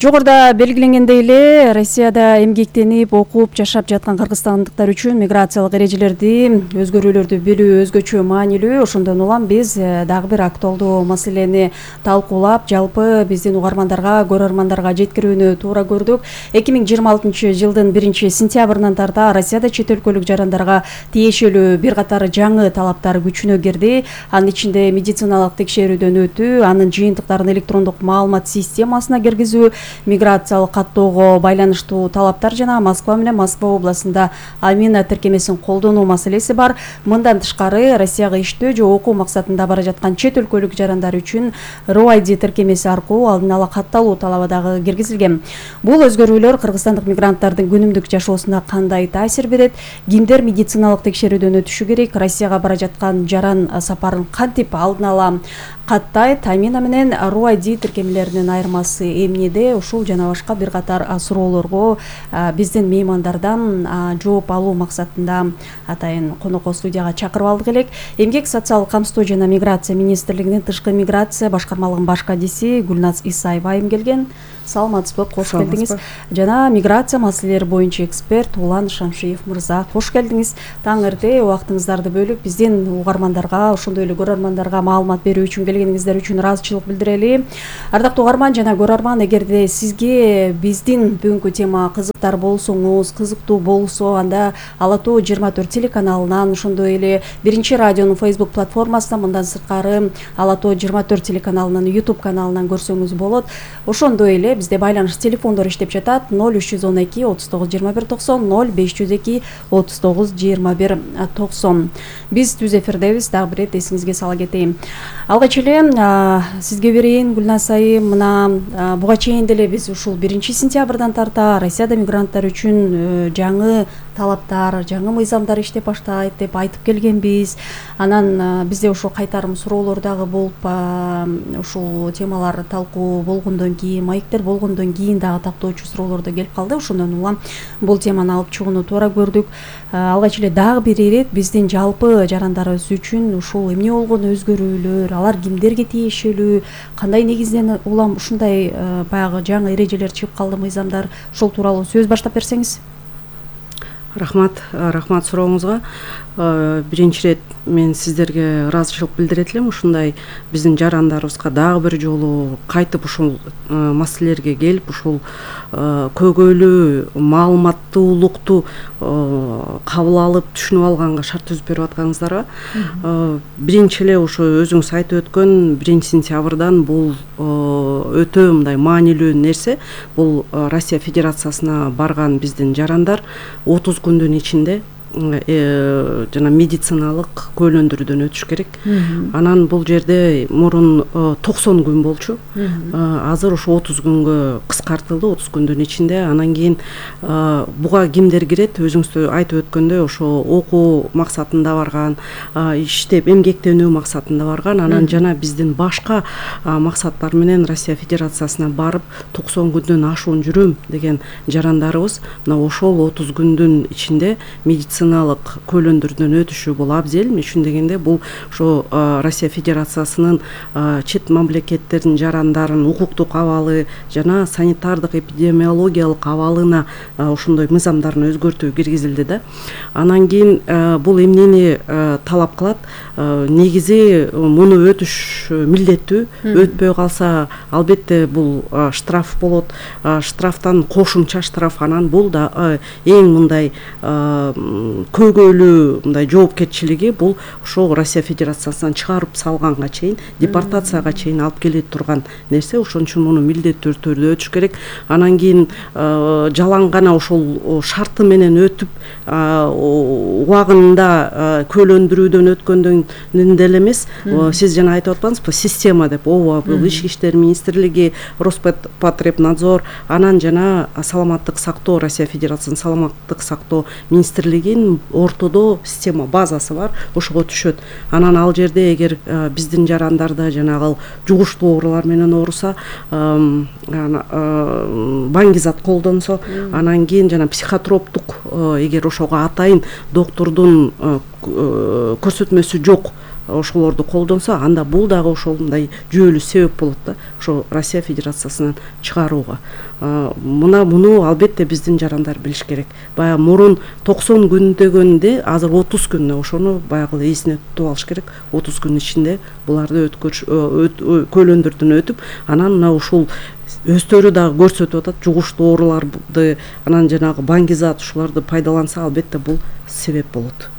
Жогоруда белгиленгендей эле, Россияда эмгектенип, окуп, жашап жаткан кыргызстандыктар үчүн миграциялык эрежелерди, өзгөрүүлөрдү билүү өзгөчө маанилүү. Ошондон улам биз дагы бир актуалдуу маселени талкуулап, жалпы биздин угармандарга, көрөрмандарга жеткирүүнү туура көрдүк. 2026 жылдын 1-сентябрынан тарта Россияда чет өлкөлүк жарандарга тиешелүү бир катар жаңы талаптар күчүнө кирди. Анын ичинде медициналык текшерүүдөн өтүү, анын жыйынтыктарын электрондук маалымат системасына киргизүү, миграциялык каттоого байланыштуу талаптар жана Москва менен Москва областында Амина тиркемесин колдонуу маселеси бар. Мындан тышкары Россияга иштөө же окуу максатында бара жаткан чет өлкөлүк жарандар үчүн RUID тиркемеси аркылуу алдын ала катталуу талабы дагы киргизилген. Бул өзгөрүүлөр кыргызстандык мигранттардын күнүмдүк жашоосуна кандай таасир берет? Кимдер медициналык текшерүүдөн өтүшү керек? Россияга бара жаткан жаран сапарын кантип алдын ала каттайт? Амина менен RUID тиркемелеринин айырмасы эмнеде? Ушул жана башка бир катар суроолорго биздин меймандардан жооп алуу максатында атайын конокко студияга чакырып алдык элек. Эмгек социалдык камсыздоо жана миграция министрлигинин тышкы миграция башкармалыгынын баш кадиси Гүлназ Исаева келген. Саламатсызбы, кош келдиңиз. Жана миграция маселелери боюнча эксперт Улан Шамшиев мырза, кош келдиңиз. Таң эрте убактыңыздарды бөлүп биздин угармандарга, ошондой эле көрөрмандарга маалымат берүү үчүн келгениңиздер үчүн ыраазычылык билдирели. Ардактуу угарман жана көрөрман, эгерде сизге биздин бүгүнкү тема кызыктар болсоңуз, кызыктуу болсо, анда Ала Тоо 24 телеканалынан, ошондой эле Биринчи радионун Facebook платформасынан, мындан сырткары Ала Тоо 24 телеканалынын YouTube каналынан көрсөңүз болот. Ошондой эле бизде байланыш телефондор иштеп жатат 0312 39 21 90 0502 39 21 90. Биз түз эфирдебиз. Дагы бир эт эсиңизге сала кетейин. Алгач эле сизге берейин, Гүлназ айым. Мына буга чейин деле биз ушул 1-сентябрдан тарта Россияда мигранттар үчүн жаңы талаптар, жаңы мыйзамдар иштеп баштайт деп айтып келгенбиз. Анан бизде ошо кайтарым суроолор дагы болуп, ушул темалар талкуу болгондон кийин, маектер болгондон кийин дагы тактоочу суроолор да келип калды. Ошондон улам бул теманы алып чыгууну туура көрдүк. Алгач эле дагы бир ирет биздин жалпы жарандарыбыз үчүн ушул эмне болгон өзгөрүүлөр, алар кимдерге тиешелүү, кандай негизден улам ушундай баягы жаңы эрежелер чыгып калды, мыйзамдар, ушул тууралуу сөз баштап берсеңиз. Рахмат сурооңузга. Биринчи ирет мен сиздерге ыраазычылык билдирет элем. Ушундай биздин жарандарыбызга дагы бир жолу кайтып ушул маселелерге келип, ушул көйгөйлүү маалыматтуулукту кабыл алып, түшүнүп алганга шарт түзүп берип атканыңыздарга. Биринчи эле ошо өзүңүз айтып өткөн 1-сентябрдан бул өтө мындай маанилүү нерсе. Бул Россия Федерациясына барган биздин жарандар 30 күндүн ичинде жана медициналык көйлөндүрүүдөн өтүш керек. Анан бул жерде мурун 90 күн болчу. Азыр ошо 30 күнгө кыскартылды, 30 күндүн ичинде. Анан кийин буга кимдер кирет? Өзүңүз айтып өткөндөй, ошо окуу максатында барган, иштеп эмгектенүү максатында барган, анан жана биздин башка максаттар менен Россия Федерациясына барып 90 күндөн ашуун жүрөм деген жарандарыбыз мына ошол 30 күндүн ичинде медициналык көйлөндүрүүдөн өтүшү бул абзел. Үчүн дегенде бул ошо Россия Федерациясынын чет мамлекеттердин жарандарын укуктук абалы жана санитардык эпидемиологиялык абалына ошондой мыйзамдарын өзгөртүү киргизилди да. Анан кийин бул эмнени талап кылат? Негизи муну өтүш милдеттүү. Өтпөй калса албетте бул штраф болот. Штрафтан кошумча штраф. Анан бул да эң мындай көйгөйлүү мындай жоопкерчилиги бул ошо Россия Федерациясынан чыгарып салганга чейин, депортацияга чейин алып келе турган нерсе. Ошон үчүн муну милдеттүү түрдө өтүш керек. Анан кийин жалаң гана ошол шарты менен өтүп убагында көйлөндүрүүдөн өткөндөн деле эмес. Сиз жана айтып атпаңызбы, система деп. Ооба, бул Ички иштер министрлиги, Роспотребнадзор, анан жана саламаттык сактоо, Россия Федерациясынын саламаттык сактоо министрлигинин ортодо система базасы бар, ошого түшөт. Анан ал жерде эгер биздин жарандарды жанагы жугуштуу оорулар менен ооруса, баңгизат колдонсо, анан кийин жана психотроптук, эгер ошого атайын доктурдун көрсөтмөсү жок, ошолорду колдонсо, анда бул дагы ошол мындай жүйөлүү себеп болот да, ошо Россия Федерациясынан чыгарууга. Муну албетте биздин жарандар билиш керек. Баягы мурун 90 күн дегенде азыр 30 күн, ошону баягы эсине тутуп алыш керек. 30 күн ичинде буларды көйлөндүрүүдөн өтүп, анан мына ушул өздөрү дагы көрсөтүп атат, жугуштуу ооруларды, анан жанагы баңгизат ушуларды пайдаланса албетте бул себеп болот.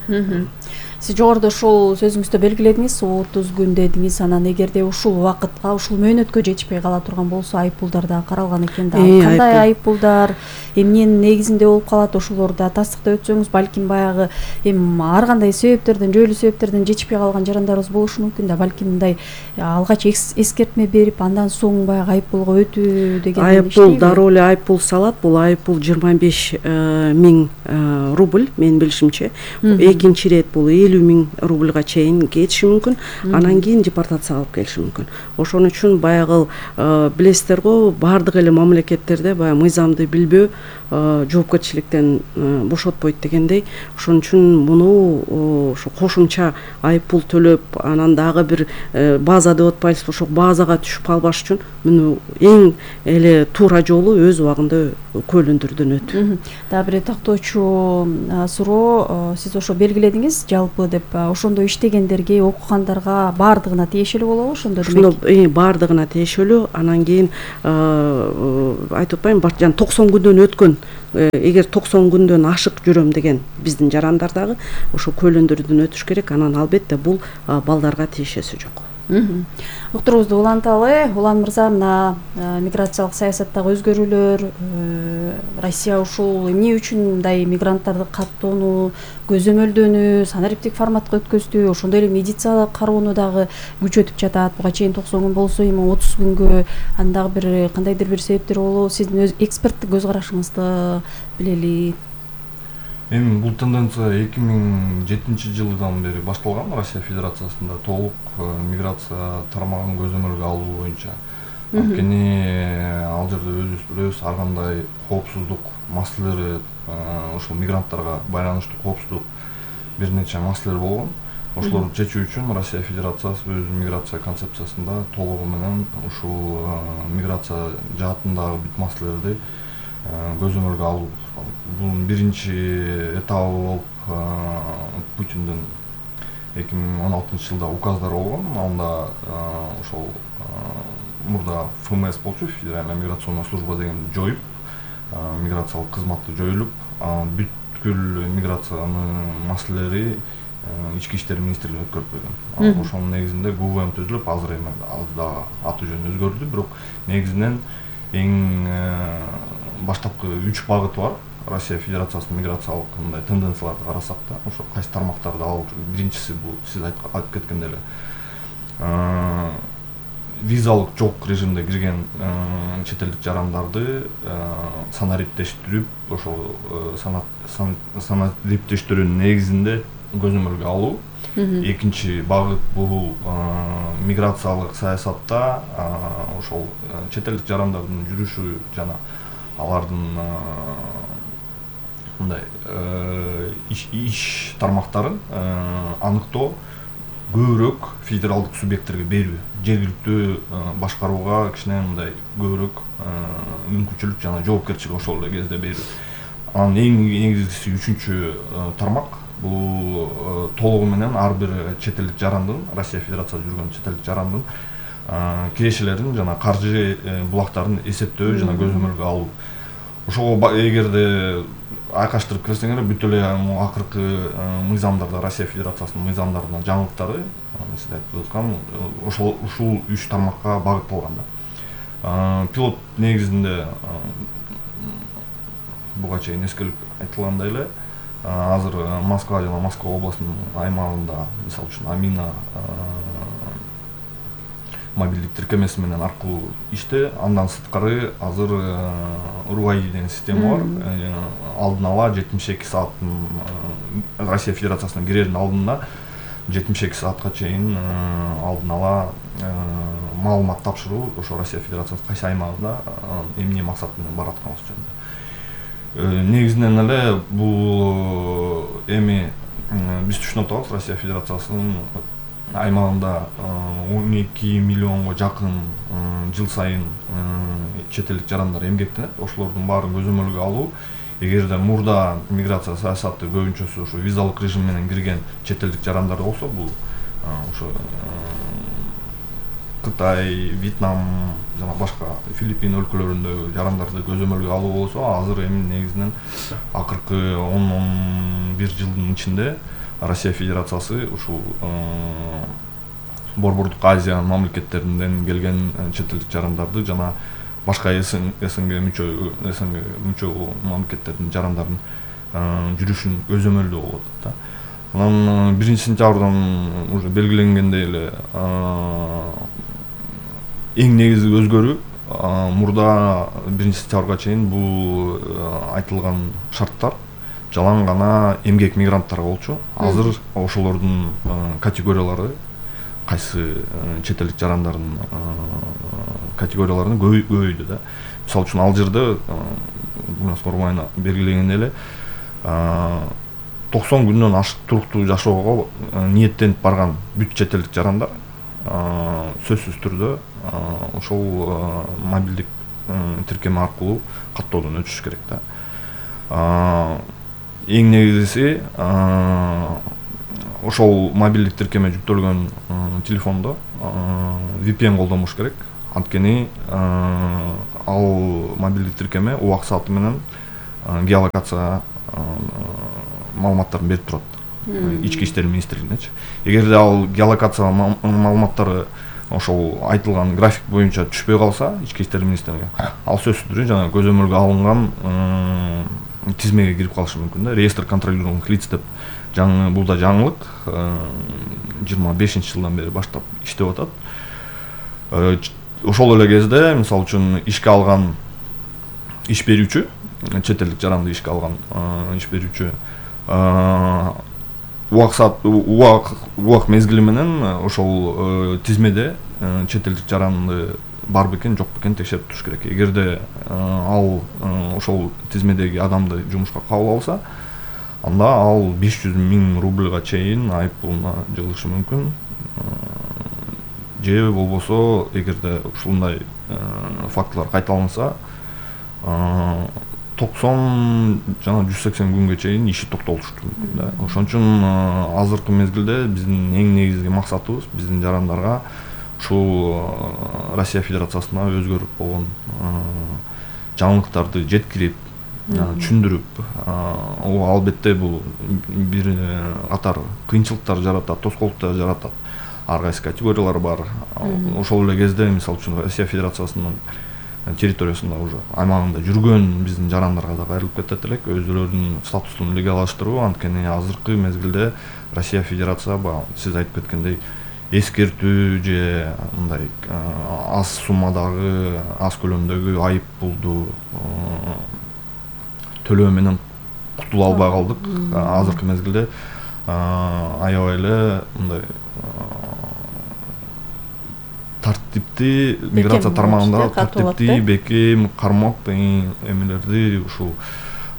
Сиз жогоруда ушул сөзүңүздө белгиледиңиз, 30 күн дедиңиз, анан эгерде ушул убакытка, ушул мөөнөткө жетишпей кала турган болсо, айыппулдар да каралган экен да. Кандай айыппулдар, эмненин негизинде болуп калат, ошолорду да тастыктап өтсөңүз, балким баягы ар кандай себептерден, жөйлүү себептерден жетишпей калган жарандарыбыз болушу мүмкүн да. Балким мындай алгач эскертме берип, андан соң баягы айыппулга өтүү деген айыппул дароо эле айыппул салат. Бул айыппул 25 миң рубль, менин билишимче. Экинчи ирет бул 50 миң рубльга чейин кетиши мүмкүн, анан кийин депортацияга алып келиши мүмкүн. Ошон үчүн баягы билесиздер го, бардык эле мамлекеттерде баягы мыйзамды билбөө жоопкерчиликтен бошотпойт дегендей. Ошон үчүн муну ошо кошумча айыппул төлөп, анан дагы бир база деп атпайбызбы, ошо базага түшүп калбаш үчүн муну эң эле туура жолу өз убагында көйлөндүрүүдөн өтүү. Дагы бир тактоочу суроо, сиз ошо белгиледиңиз, жалпы деп ошондо иштегендерге, окугандарга бардыгына тиешелүү болобу ошондо демек? Ошондо бардыгына тиешелүү, анан кийин айтып атпаймынбы, 90 күндөн өткөн, эгер 90 күндөн ашык жүрөм деген биздин жарандар дагы ошо көйлөндүрүүдөн өтүш керек, анан албетте бул балдарга тиешеси жок. Уктуруубузду уланталы. Улан мырза, мына миграциялык саясаттагы өзгөрүүлөр, Россия ушул эмне үчүн мындай мигранттарды каттоону, көзөмөлдөнүү, санариптик форматка өткөздү, ошондой эле медициналык кароону дагы күчөтүп жатат. Буга чейин 90 күн болсо, эми 30 күнгө, аны дагы бир кандайдыр бир себептер болобу? Сиздин өз эксперттик көз карашыңызды билели. Эми бул тенденция 2007 жылдан бери башталган. Россия Федерациясында толук миграция тармагын көзөмөлгө алуу боюнча. Анткени ал жерде өзүбүз билебиз, ар кандай коопсуздук маселелери, ошол мигранттарга байланыштуу коопсуздук бир нече маселелер болгон. Ошолорду чечүү үчүн Россия Федерациясы өз миграция концепциясында толугу менен ушул миграция жаатындагы бүт маселелерди көзөмөлгө алуу. Бунун биринчи этабы болуп Путиндин 2016 жылда указдар болгон. Анда ошол мурда ФМС болчу, Федеральная миграционная служба деген жоюп, миграциялык кызматты жоюлуп, бүткүл миграциянын маселелери ички иштер министрлигине өткөрүп койгон. Ошонун негизинде ГУВМ түзүлүп, азыр эми дагы аты жөнү өзгөрдү, бирок негизинен эң баштапкы 3 багыт бар. Россия Федерациясынын миграциялык мындай тенденцияларды карасак да, ошо кайсы тармактарды алып, биринчиси бул сиз айтып кеткендей эле визалык жок режимде кирген чет элдик жарандарды санариптештирип, ошол санариптештирүүнүн негизинде көзөмөлгө алуу. Экинчи багыт бул миграциялык саясатта ошол чет элдик жарандардын жүрүшү жана алардын мындай иш тармактарын аныктоо, көбүрөөк федералдык субъекттерге берүү, жергиликтүү башкарууга кичине мындай көбүрөөк мүмкүнчүлүк жана жоопкерчилик ошол эле кезде берүү. Анан эң негизгиси 3-чү тармак бул толугу менен ар бир чет элдик жарандын, Россия Федерациясында жүргөн чет элдик жарандын кирешелерин жана каржы булактарын эсептөө жана көзөмөлгө алуу. Ошого эгерде айкаштырып кирсеңер, бүт эле акыркы мыйзамдарда, Россия Федерациясынын мыйзамдарынын жаңылыктары, сиз айтып аткан, ушул 3 тармакка багытталган да. Пилот негизинде буга чейин эскерилип айтылгандай эле, азыр Москва жана Москва областынын аймагында, мисалы үчүн Амина мобилдик тиркемеси менен аркылуу иште, андан сырткары азыр РУАИ деген система бар. Алдын ала 72 сааттын Россия Федерациясына кирердин алдында 72 саатка чейин алдын ала маалымат тапшыруу, ошо Россия Федерациясынын кайсы аймагында эмне максат менен баратканыбыз жөнүндө. Негизинен эле бул эми биз түшүнүп атабыз, Россия Федерациясынын аймагында 12 миллионго жакын жыл сайын чет элдик жарандар эмгектенет. Ошолордун баарын көзөмөлгө алуу, эгерде мурда миграция саясаты көбүнчөсү ошо визалык режим менен кирген чет элдик жарандар болсо, бул ошо Кытай, Вьетнам жана башка Филиппин өлкөлөрүндөгү жарандарды көзөмөлгө алуу болсо, азыр эми негизинен акыркы 10-11 жылдын ичинде Россия Федерациясы ушул Борбордук Азия мамлекеттеринен келген чет элдик жарандарды жана башка СНГ мүчө мамлекеттердин жарандарын жүрүшүн көзөмөлдөө болуп атат да. Анан 1-сентябрдан уже белгиленгендей эле эң негизги өзгөрүү мурда 1-сентябрга чейин бул айтылган шарттар жалаң гана эмгек мигранттарга болчу. Азыр ошолордун категориялары кайсы чет элдик жарандардын категорияларына көбөйдү да. Мисалы үчүн Алжирде Курманов белгилегендей эле 90 күндөн ашык туруктуу жашоого ниеттенип барган бүт чет элдик жарандар сөзсүз түрдө ошол мобилдик тиркеме аркылуу каттоодон өтүш керек да. Эң негизгиси ошол мобилдик тиркеме жүктөлгөн телефондо VPN колдонуш керек. Анткени ал мобилдик тиркеме убак сааты менен геолокация маалыматтарын берип турат. Ички иштер министрлигинечи. Эгерде ал геолокация маалыматтары ошол айтылган график боюнча түшпөй калса, ички иштер министрлиги ал сөзсүз түрдө жана көзөмөлгө алынган тизмеге кирип калышы мүмкүн да. Реестр контролируемых лиц деп бул да жаңылык 25-жылдан бери баштап иштеп атат. Ошол эле кезде мисалы үчүн ишке алган иш берүүчү, чет элдик жаранды ишке алган иш берүүчү убак мезгили менен ошол тизмеде чет элдик жаранды бар бекен, жок бекен текшерип туруш керек. Эгерде ал ошол тизмедеги адамды жумушка кабыл алса, анда ал 500 000 рубльга чейин айыппулуна жылышы мүмкүн. Же болбосо, эгерде ушундай фактылар кайталанса, 90 жана 180 күнгө чейин иши токтотулушу мүмкүн да. Ошон үчүн азыркы мезгилде биздин эң негизги максатыбыз биздин жарандарга ушул Россия Федерациясына өзгөрүп болгон жаңылыктарды жеткирип, түшүндүрүп, албетте бул бир катар кыйынчылыктар жаратат, тоскоолдуктар жаратат. Ар кайсы категориялар бар. Ошол эле кезде, мисалы үчүн Россия Федерациясынын территориясында уже аймагында жүргөн биздин жарандарга да кайрылып кетет элек, өздөрүнүн статусун легалдаштыруу. Анткени азыркы мезгилде Россия Федерация сиз айтып кеткендей эскертүү же мындай аз суммадагы, аз көлөмдөгү айыппулду төлөө менен кутула албай калдык. Азыркы мезгилде аябай эле мындай тартипти миграция тармагында тартипти бекем кармок эмелерди ушул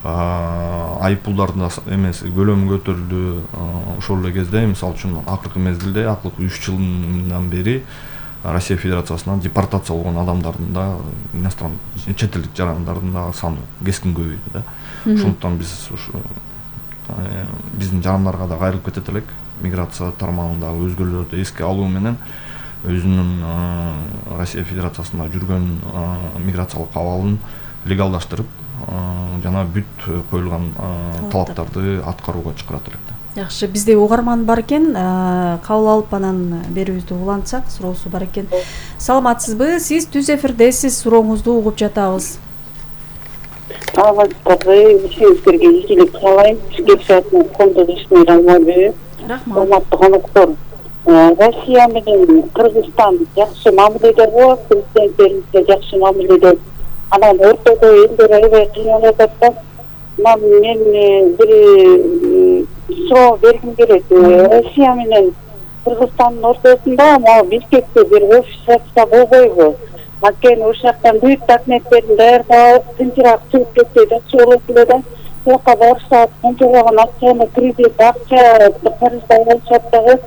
айыппулдардын эмеси көлөмү көтөрүлдү. Ошол эле кезде мисалы үчүн акыркы мезгилде акыркы 3 жылдан бери Россия Федерациясынан депортация болгон адамдардын да иностран чет элдик жарандардын да саны кескин көбөйдү да. Ошондуктан биз биздин жарандарга да кайрылып кетет элек, миграция тармагындагы өзгөрүүлөрдү эске алуу менен өзүнүн Россия Федерациясында жүргөн миграциялык абалын легалдаштырып жана бүт коюлган талаптарды аткарууга чакырат элек да. Жакшы, бизде угарман бар экен, кабыл алып анан берүүбүздү улантсак, суроосу бар экен. Саламатсызбы? Сиз түз эфирдесиз, сурооңузду угуп жатабыз. Саламатсызбы? Сиздерге ийгилик каалайм. Келишатын коомдоштугун Алмазбек. Рахмат. Урматтуу коноктор. Россия менен Кыргызстан жакшы мамиледе болот, президенттерибизге жакшы мамиледе. Анан ортодо элдер аябай кыйналып атат да. Мен бир суроо бергим келет. Россия менен Кыргызстандын ортосунда могу Бишкекте бир офис ачса болбойбу? Анткени ошол жактан бүт документтерин даярдап, тынчыраак чыгып кетсе жакшы болот эле да. Буяка барышат, канчалаган акчаны, кредит, акча карыздай алышат дагы.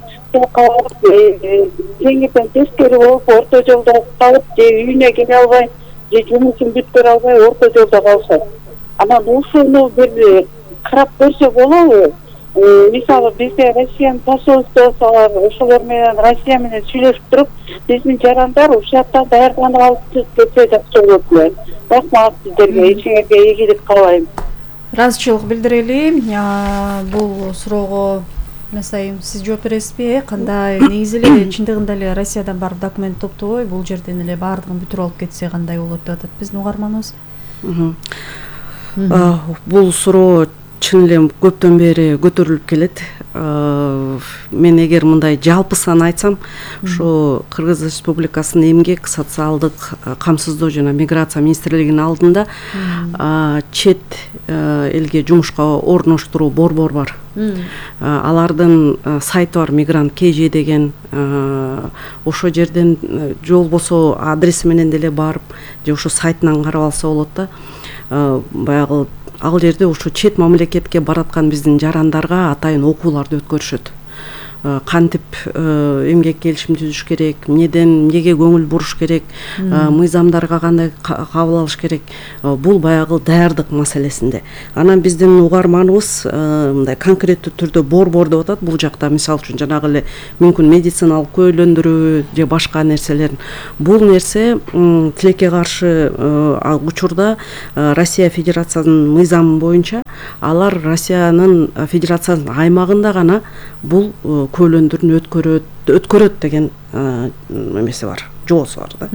Теңирден тескери болуп, орто жолдо калып, же үйүнө келе албай, же жумушун бүткөрө албай, орто жолдо калышат. Анан ушуну бир карап көрсө болобу? мисалы бизде Россиянын посольствосу бар, ошолор менен Россия менен сүйлөшүп туруп, биздин жарандар ушактан даярданып алып кетсе жакшы болот эле. Рахмат сиздерге, ичиңерге ийгилик каалайм. Ыраазычылык билдирели. Бул суроого Насайым, сиз жооп бересизби? Кандай негизи эле чындыгында эле Россиядан барып документ топтобой, бул жерден эле баардыгын бүтүрүп алып кетсе кандай болот деп атат биздин угарманыбыз. Бул суроо чын эле көптөн бери көтөрүлүп келет. Мен эгер мындай жалпысын айтсам, ошо Кыргыз Республикасынын эмгек, социалдык камсыздоо жана миграция министрлигинин алдында чет элге жумушка орноштуруу борбор бар. Алардын сайты бар, Мигрант КЖ деген. Ошо жерден же болбосо адреси менен деле барып, же ошо сайтынан карап алса болот да. Баягы ал жерде ошо чет мамлекетке бараткан биздин жарандарга атайын окууларды өткөрүшөт. Кантип эмгек келишим түзүш керек, эмнеге көңүл буруш керек, мыйзамдарга кандай кабыл алыш керек. Бул баягы даярдык маселесинде. Анан биздин угарманыбыз мындай конкреттүү түрдө борбор деп атат. Бул жакта мисалы үчүн жанагы эле мүмкүн медициналык көйлөндүрүү же башка нерселер. Бул нерсе тилекке каршы учурда Россия Федерациясынын мыйзамы боюнча алар Россиянын Федерациянын аймагында гана бул көйлөндүрүн өткөрөт деген эмеси бар, жоосу бар да.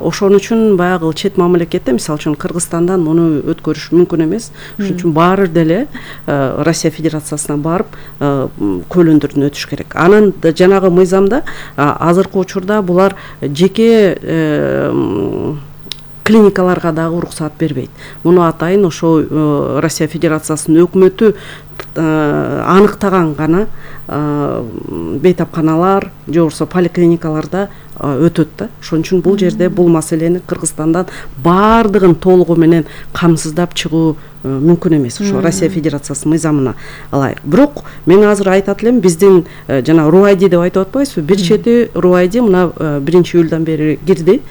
Ошон үчүн баягы чет мамлекетте, мисалы үчүн Кыргызстандан муну өткөрүш мүмкүн эмес. Ошон үчүн баары деле Россия Федерациясына барып көйлөндүрүн өтүш керек. Анан жанагы мыйзамда азыркы учурда булар жеке клиникаларга дагы уруксаат бербейт. Муну атайын ошо Россия Федерациясынын өкмөтү аныктаган гана бейтапканалар же болбосо поликлиникаларда өтөт да. Ошон үчүн бул жерде бул маселени Кыргызстандан баардыгын толугу менен камсыздап чыгуу мүмкүн эмес. Ошо Россия Федерациясынын мыйзамына ылайык. Бирок мен азыр айтат элем, биздин жана РУАЙДИ деп айтып атпайбызбы? Бир чети РУАЙДИ мына 1-июлдан бери кирди.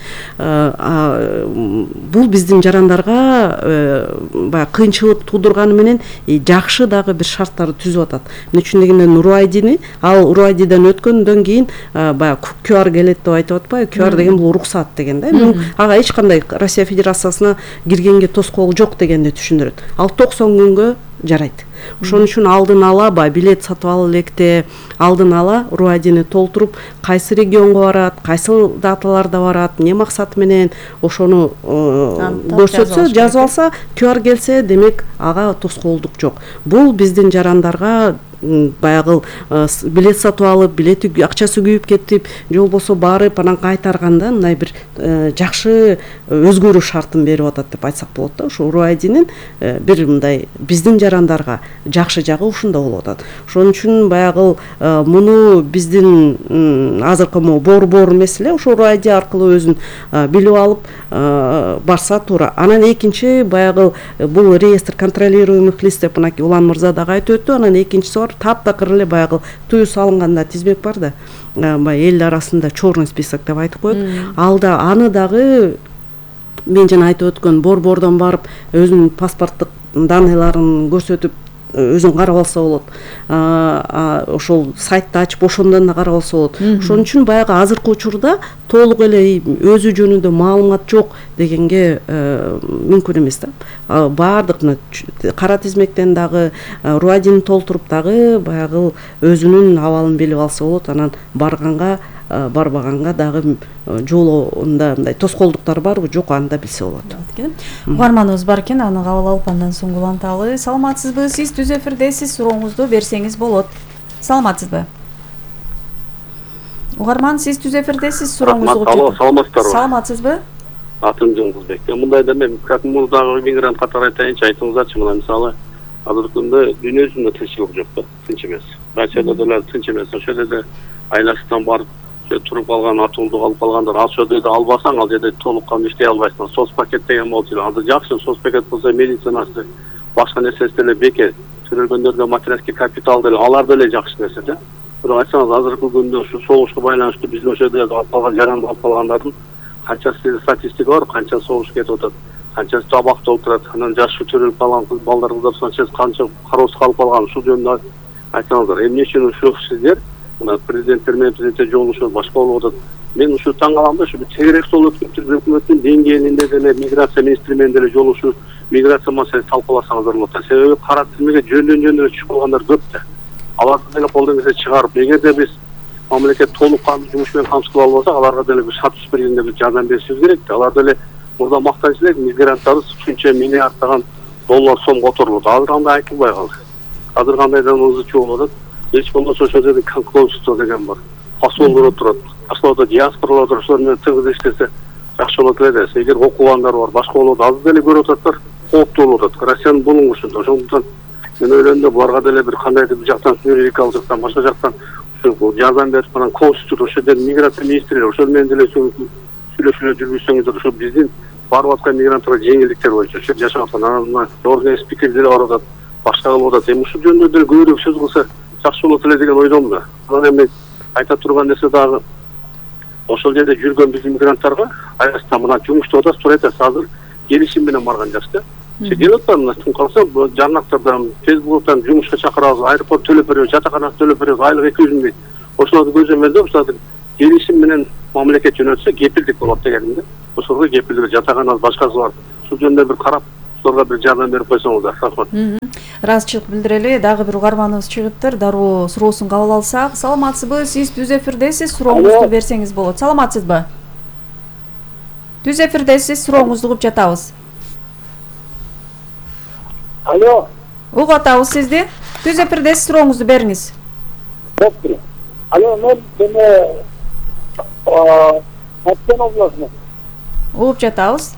Бул биздин жарандарга баягы кыйынчылык туудурганы менен жакшы дагы бир шарттарды түзүп атат. Эмне үчүн дегенде РУАЙДИни ал РУАЙДИден өткөндөн кийин баягы QR келет деп айтып атпайбы? QR деген бул уруксаат деген да. Ага эч кандай Россия Федерациясына киргенге тоскоол жок дегенди түшүндүрөт. Ал 90 күнгө жарайт. Ошон үчүн алдын ала билет сатып алып электе алдын ала РУАЙДИни толтуруп, кайсы регионго барат, кайсы даталарда барат, эмне максат менен ошону көрсөтсө, жазып алса, QR келсе, демек ага тоскоолдук жок. Бул биздин жарандарга баягы билет сатып алып, билети акчасы күйүп кетип, же болбосо барып анан кайтарганда мындай бир жакшы өзгөрүү шартын берип атат деп айтсак болот да. Ошо РУАЙДИнин бир мындай биздин жарандарга жакшы жагы ушунда болуп атат. Ошон үчүн баягы муну биздин азыркы борбор эмес эле ошо РУАЙДИ аркылуу өзүн билип алып барса туура. Анан экинчи баягы бул реестр контролируемых лиц деп мынакей Улан мырза дагы айтып өттү. Анан экинчиси бар, таптакыр эле баягы тую салынганда тизмек бар да. Баягы эл арасында черный список деп айтып коет. Алда аны дагы мен жана айтып өткөн борбордон барып өзүнүн паспорттук данныйларын көрсөтүп өзүн карап алса болот. Ошол сайтты ачып ошондон да карап алса болот. Ошон үчүн баягы азыркы учурда толук эле өзү жөнүндө маалымат жок дегенге мүмкүн эмес да. Баардык кара тизмектен дагы РУАЙДИни толтуруп дагы баягы өзүнүн абалын билип алса болот. Анан барганга барбаганга дагы жолунда мындай тоскоолдуктар барбы жок, аны да билсе болот. Угарманыбыз бар экен, аны кабыл алып андан соң уланталы. Саламатсызбы? Сиз түз эфирдесиз, сурооңузду берсеңиз болот. Саламатсызбы? Угарман, сиз түз эфирдесиз, сурооңузду Алло, саламатсыздарбы? Саламатсызбы? Атым Жолдузбек. Мындайда мен как мурдагы мигрант катары айтайынчы, айтыңыздарчы, мына мисалы азыркы күндө дүйнө жүзүндө тынччылык жок да, тынч эмес. Россияда деле тынч эмес. Ошол жерде айласынан барып туруп калган, атуулдук алып калгандар, ошол жерде албасаң, ал жерде толук калып иштей албайсың. Соцпакет деген болчу. Азыр жакшы соцпакет болсо медицинасы, башка нерсеси деле бекер. Төрөлгөндөргө материалдык капитал деле, алар деле жакшы нерсе да. Бирок айтсаңыз, азыркы күндө ушу согушка байланыштуу биздин ошол жерде алып калган жаранды алып калгандардын канчасы статистика бар, канча согуш кетип атат, канчасы жабакта отурат, анан жашы төрөлүп калган балдар кыздар канча кароосуз калып калган, ушул жөнүндө айтсаңыздар. Эмне үчүн ушул сиздер мына президенттер менен президентте жолугушуп башка болуп атат. Мен ушу таң калам да, ушу тегерек жол өткөрүп туруп өкмөттүн деңгээлинде деле миграция министри менен деле жолугушуп миграция маселесин талкууласаңыздар болот да. Себеби кара тизмеге жөндөн түшүп калгандар көп да. Аларды деле колдон келсе чыгарып, эгерде биз мамлекет толук кандуу жумуш менен камсыздап албасак, аларга деле бир статус бергенде бир жардам беришибиз керек да. Алар деле мурда мактанчу элек мигранттарыбыз ушунча миллиарддаган доллар сом которулат. Азыр кандай айтылбай калды. Азыр кандайдан ызы чуу болуп атат. Эч болбосо ошол жерде консульство деген бар. Посолдор турат. Башка диаспоралар туруп ошолор менен тыгыз иштесе жакшы болот эле да. Эгер окугандар бар, башка болот, азыр деле көрүп ататтар, кооптуу болуп атат. Россиянын булуңушунда. Ошондуктан мен ойлойм да буларга деле бир кандайдыр бир жактан юридикалык жактан, башка жактан ушул жардам берип анан консультор ошол жерде миграция министрлери ошол менен деле сүйлөшүүлөр жүргүзсөңүздөр, ошо биздин барып аткан мигранттарга жеңилдиктер боюнча ошо жашап аткан анан жогорку спикер деле барып атат, башка кылып атат. Эми ушул жөнүндө деле көбүрөөк сөз кылса жакшы болот эле деген ойдомун да. Анан эми айта турган нерсе дагы ошол жерде жүргөн биздин мигранттарга аясында мына жумуштап атасыз, туура айтасыз, азыр келишим менен барган жаш да. Келип атпайбы мына ким калса жарнактардан, Фейсбуктан жумушка чакырабыз, аэропорт төлөп беребиз, жатакана төлөп беребиз, айлык 200 000 дейт. Ошолорду көзөмөлдөп ушул келишим менен мамлекет жөнөтсө кепилдик болот дегенде. Ошолорго кепилдик жатакана башкасы бар. Ушул жөнүндө бир карап, ошолорго бир жардам берип койсоңуздар. Рахмат. Ыраазычылык билдирели. Дагы бир угарманыбыз чыгыптыр. Дароо суроосун кабыл алсак. Саламатсызбы? Сиз түз эфирдесиз. Сурооңузду берсеңиз болот. Саламатсызбы? Түз эфирдесиз. Сурооңузду угуп жатабыз. Алло. Угуп атабыз сизди. Түз эфирдесиз. Сурооңузду бериңиз. Алло, мен Баткен областынан. Угуп жатабыз.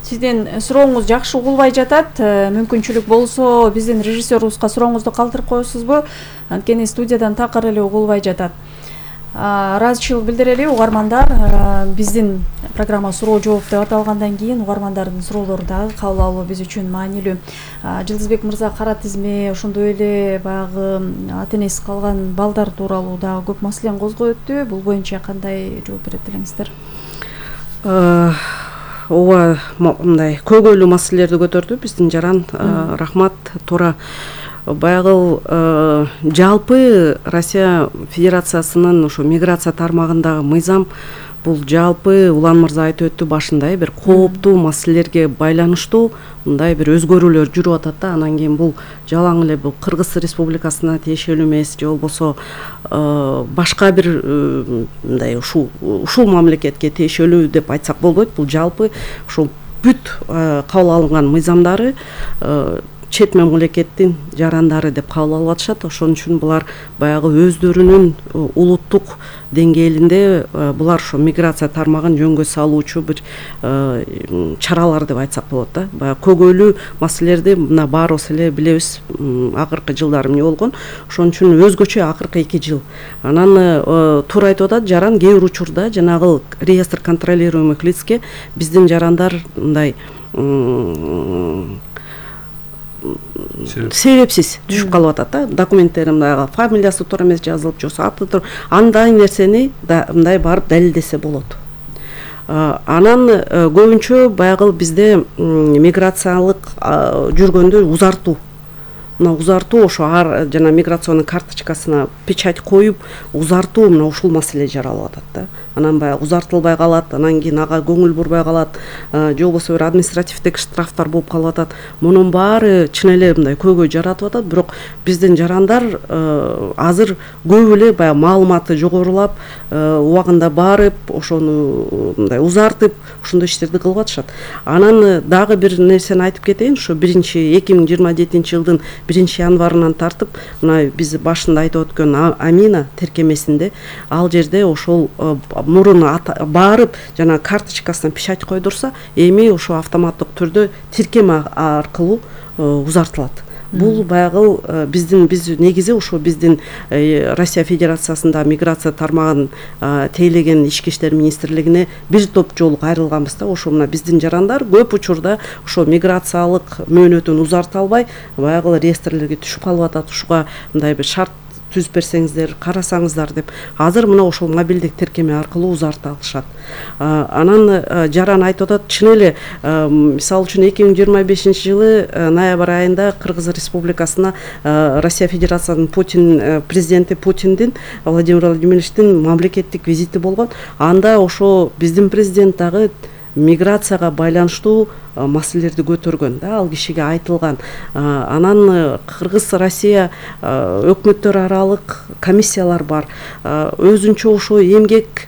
Сиздин сурооңуз жакшы угулбай жатат. Мүмкүнчүлүк болсо биздин режиссерубузга сурооңузду калтырып коесузбу? Анткени студиядан такыр эле угулбай жатат. Ыраазычылык билдирели угармандар. Биздин программа суроо жооп деп аталгандан кийин угармандардын суроолору дагы кабыл алуу биз үчүн маанилүү. Жылдызбек мырза, кара тизме, ошондой эле баягы ата энеси калган балдар тууралуу дагы көп маселени козгой өттү. Бул боюнча кандай жооп берет элеңиздер? Ооба, мындай көйгөйлүү маселелерди көтөрдү биздин жаран. Рахмат. Туура. Баягы жалпы Россия Федерациясынын ошо миграция тармагындагы мыйзам бул жалпы Улан мырза айтып өттү башында, бир кооптуу маселелерге байланыштуу мындай бир өзгөрүүлөр жүрүп атат да. Анан кийин бул жалаң эле бул Кыргыз Республикасына тиешелүү эмес, же болбосо башка бир мындай ушул мамлекетке тиешелүү деп айтсак болбойт. Бул жалпы ушул бүт кабыл алынган мыйзамдары чет мамлекеттин жарандары деп кабыл алып атышат. Ошон үчүн булар баягы өздөрүнүн улуттук деңгээлинде булар ошо миграция тармагын жөнгө салуучу бир чаралар деп айтсак болот да. Баягы көйгөйлүү маселелерди мына баарыбыз эле билебиз, акыркы жылдары эмне болгон. Ошон үчүн өзгөчө акыркы 2 жыл. Анан туура айтып атат жаран, кээ бир учурда жанагы реестр контролируемых лицке биздин жарандар мындай себепсиз түшүп калып атат да. Документтерин фамилиясы туура эмес жазылып, жок аты туура. Андай нерсени мындай барып далилдесе болот. Анан көбүнчө баягы бизде миграциялык жүргөндө узартуу. Мына узартуу ошо жана миграционный карточкасына печать коюп, узартуу мына ушул маселе жаралып атат да. Анан баягы узартылбай калат, анан кийин ага көңүл бурбай калат, же болбосо бир административдик штрафтар болуп калып атат. Мунун баары чын эле мындай көйгөй жаратып атат, бирок биздин жарандар азыр көп эле баягы маалыматы жогорулап, убагында барып, ошону мындай узартып, ушундай иштерди кылып атышат. Анан дагы бир нерсени айтып кетейин, ошо 2027-жылдын 1-январынан тартып, мына биз башында айтып өткөн Амина тиркемесинде ал жерде ошол мурун барып жана карточкасына печать койдурса, эми ошо автоматтык түрдө тиркеме аркылуу узартылат. Бул баягы биз негизи ошо биздин Россия Федерациясында миграция тармагын тейлеген ички иштер министрлигине бир топ жолу кайрылганбыз да. Ошо мына биздин жарандар көп учурда ошо миграциялык мөөнөтүн узарта албай баягы реестрлерге түшүп калып атат. Ушуга мындай бир шарт түзүп берсеңиздер, карасаңыздар деп азыр мына ошол мобилдик тиркеме аркылуу узарта алышат. Анан жаран айтып атат, чын эле мисалы үчүн 2025 жылы ноябрь айында Кыргыз Республикасына Россия Федерациясынын президенти Путиндин, Владимир Владимировичтин мамлекеттик визити болгон. Анда ошо биздин президент дагы миграцияга байланыштуу маселелерди көтөргөн да, ал кишиге айтылган. Анан Кыргыз Россия өкмөттөр аралык комиссиялар бар. Өзүнчө ошо эмгек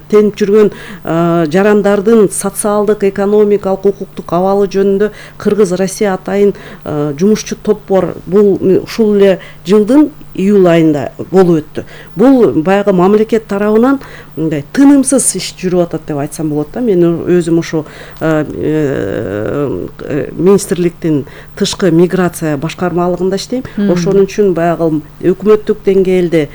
тенип жүргөн жарандардын социалдык, экономикалык, укуктук абалы жөнүндө Кыргыз Россия атайын жумушчу топ бар. Бул ушул эле жылдын июль айында болуп өттү. Бул баягы мамлекет тарабынан мындай тынымсыз иш жүрүп атат деп айтсам болот да. Мен өзүм ошо министрликтин тышкы миграция башкармалыгында иштейм. Ошонун үчүн баягы өкмөттүк деңгээлде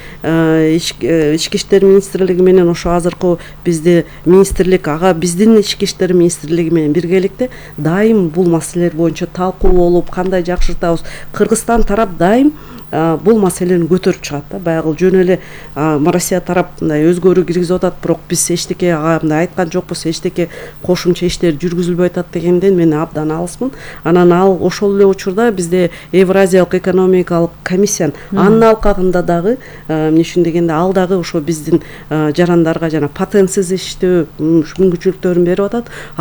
ички иштер министрлиги менен ошо азыркы бизде министрлик ага биздин ички иштер министрлиги менен биргеликте дайым бул маселелер боюнча талкуу болуп, кандай жакшыртабыз. Кыргызстан тарап дайым бул маселени көтөрүп чыгат да. Баягы жөн эле Россия тарап мындай өзгөрүү киргизип атат, бирок биз эчтеке ага мындай айткан жокпуз, эчтеке кошумча иштер жүргүзүлбөй атат дегенден мен абдан алысмын. Анан ал ошол эле учурда бизде Евразиялык экономикалык комиссия анын алкагында дагы эмне үчүн дегенде ал дагы ошо биздин жарандарга жана патентсиз иштөө мүмкүнчүлүктөрүн берип атат.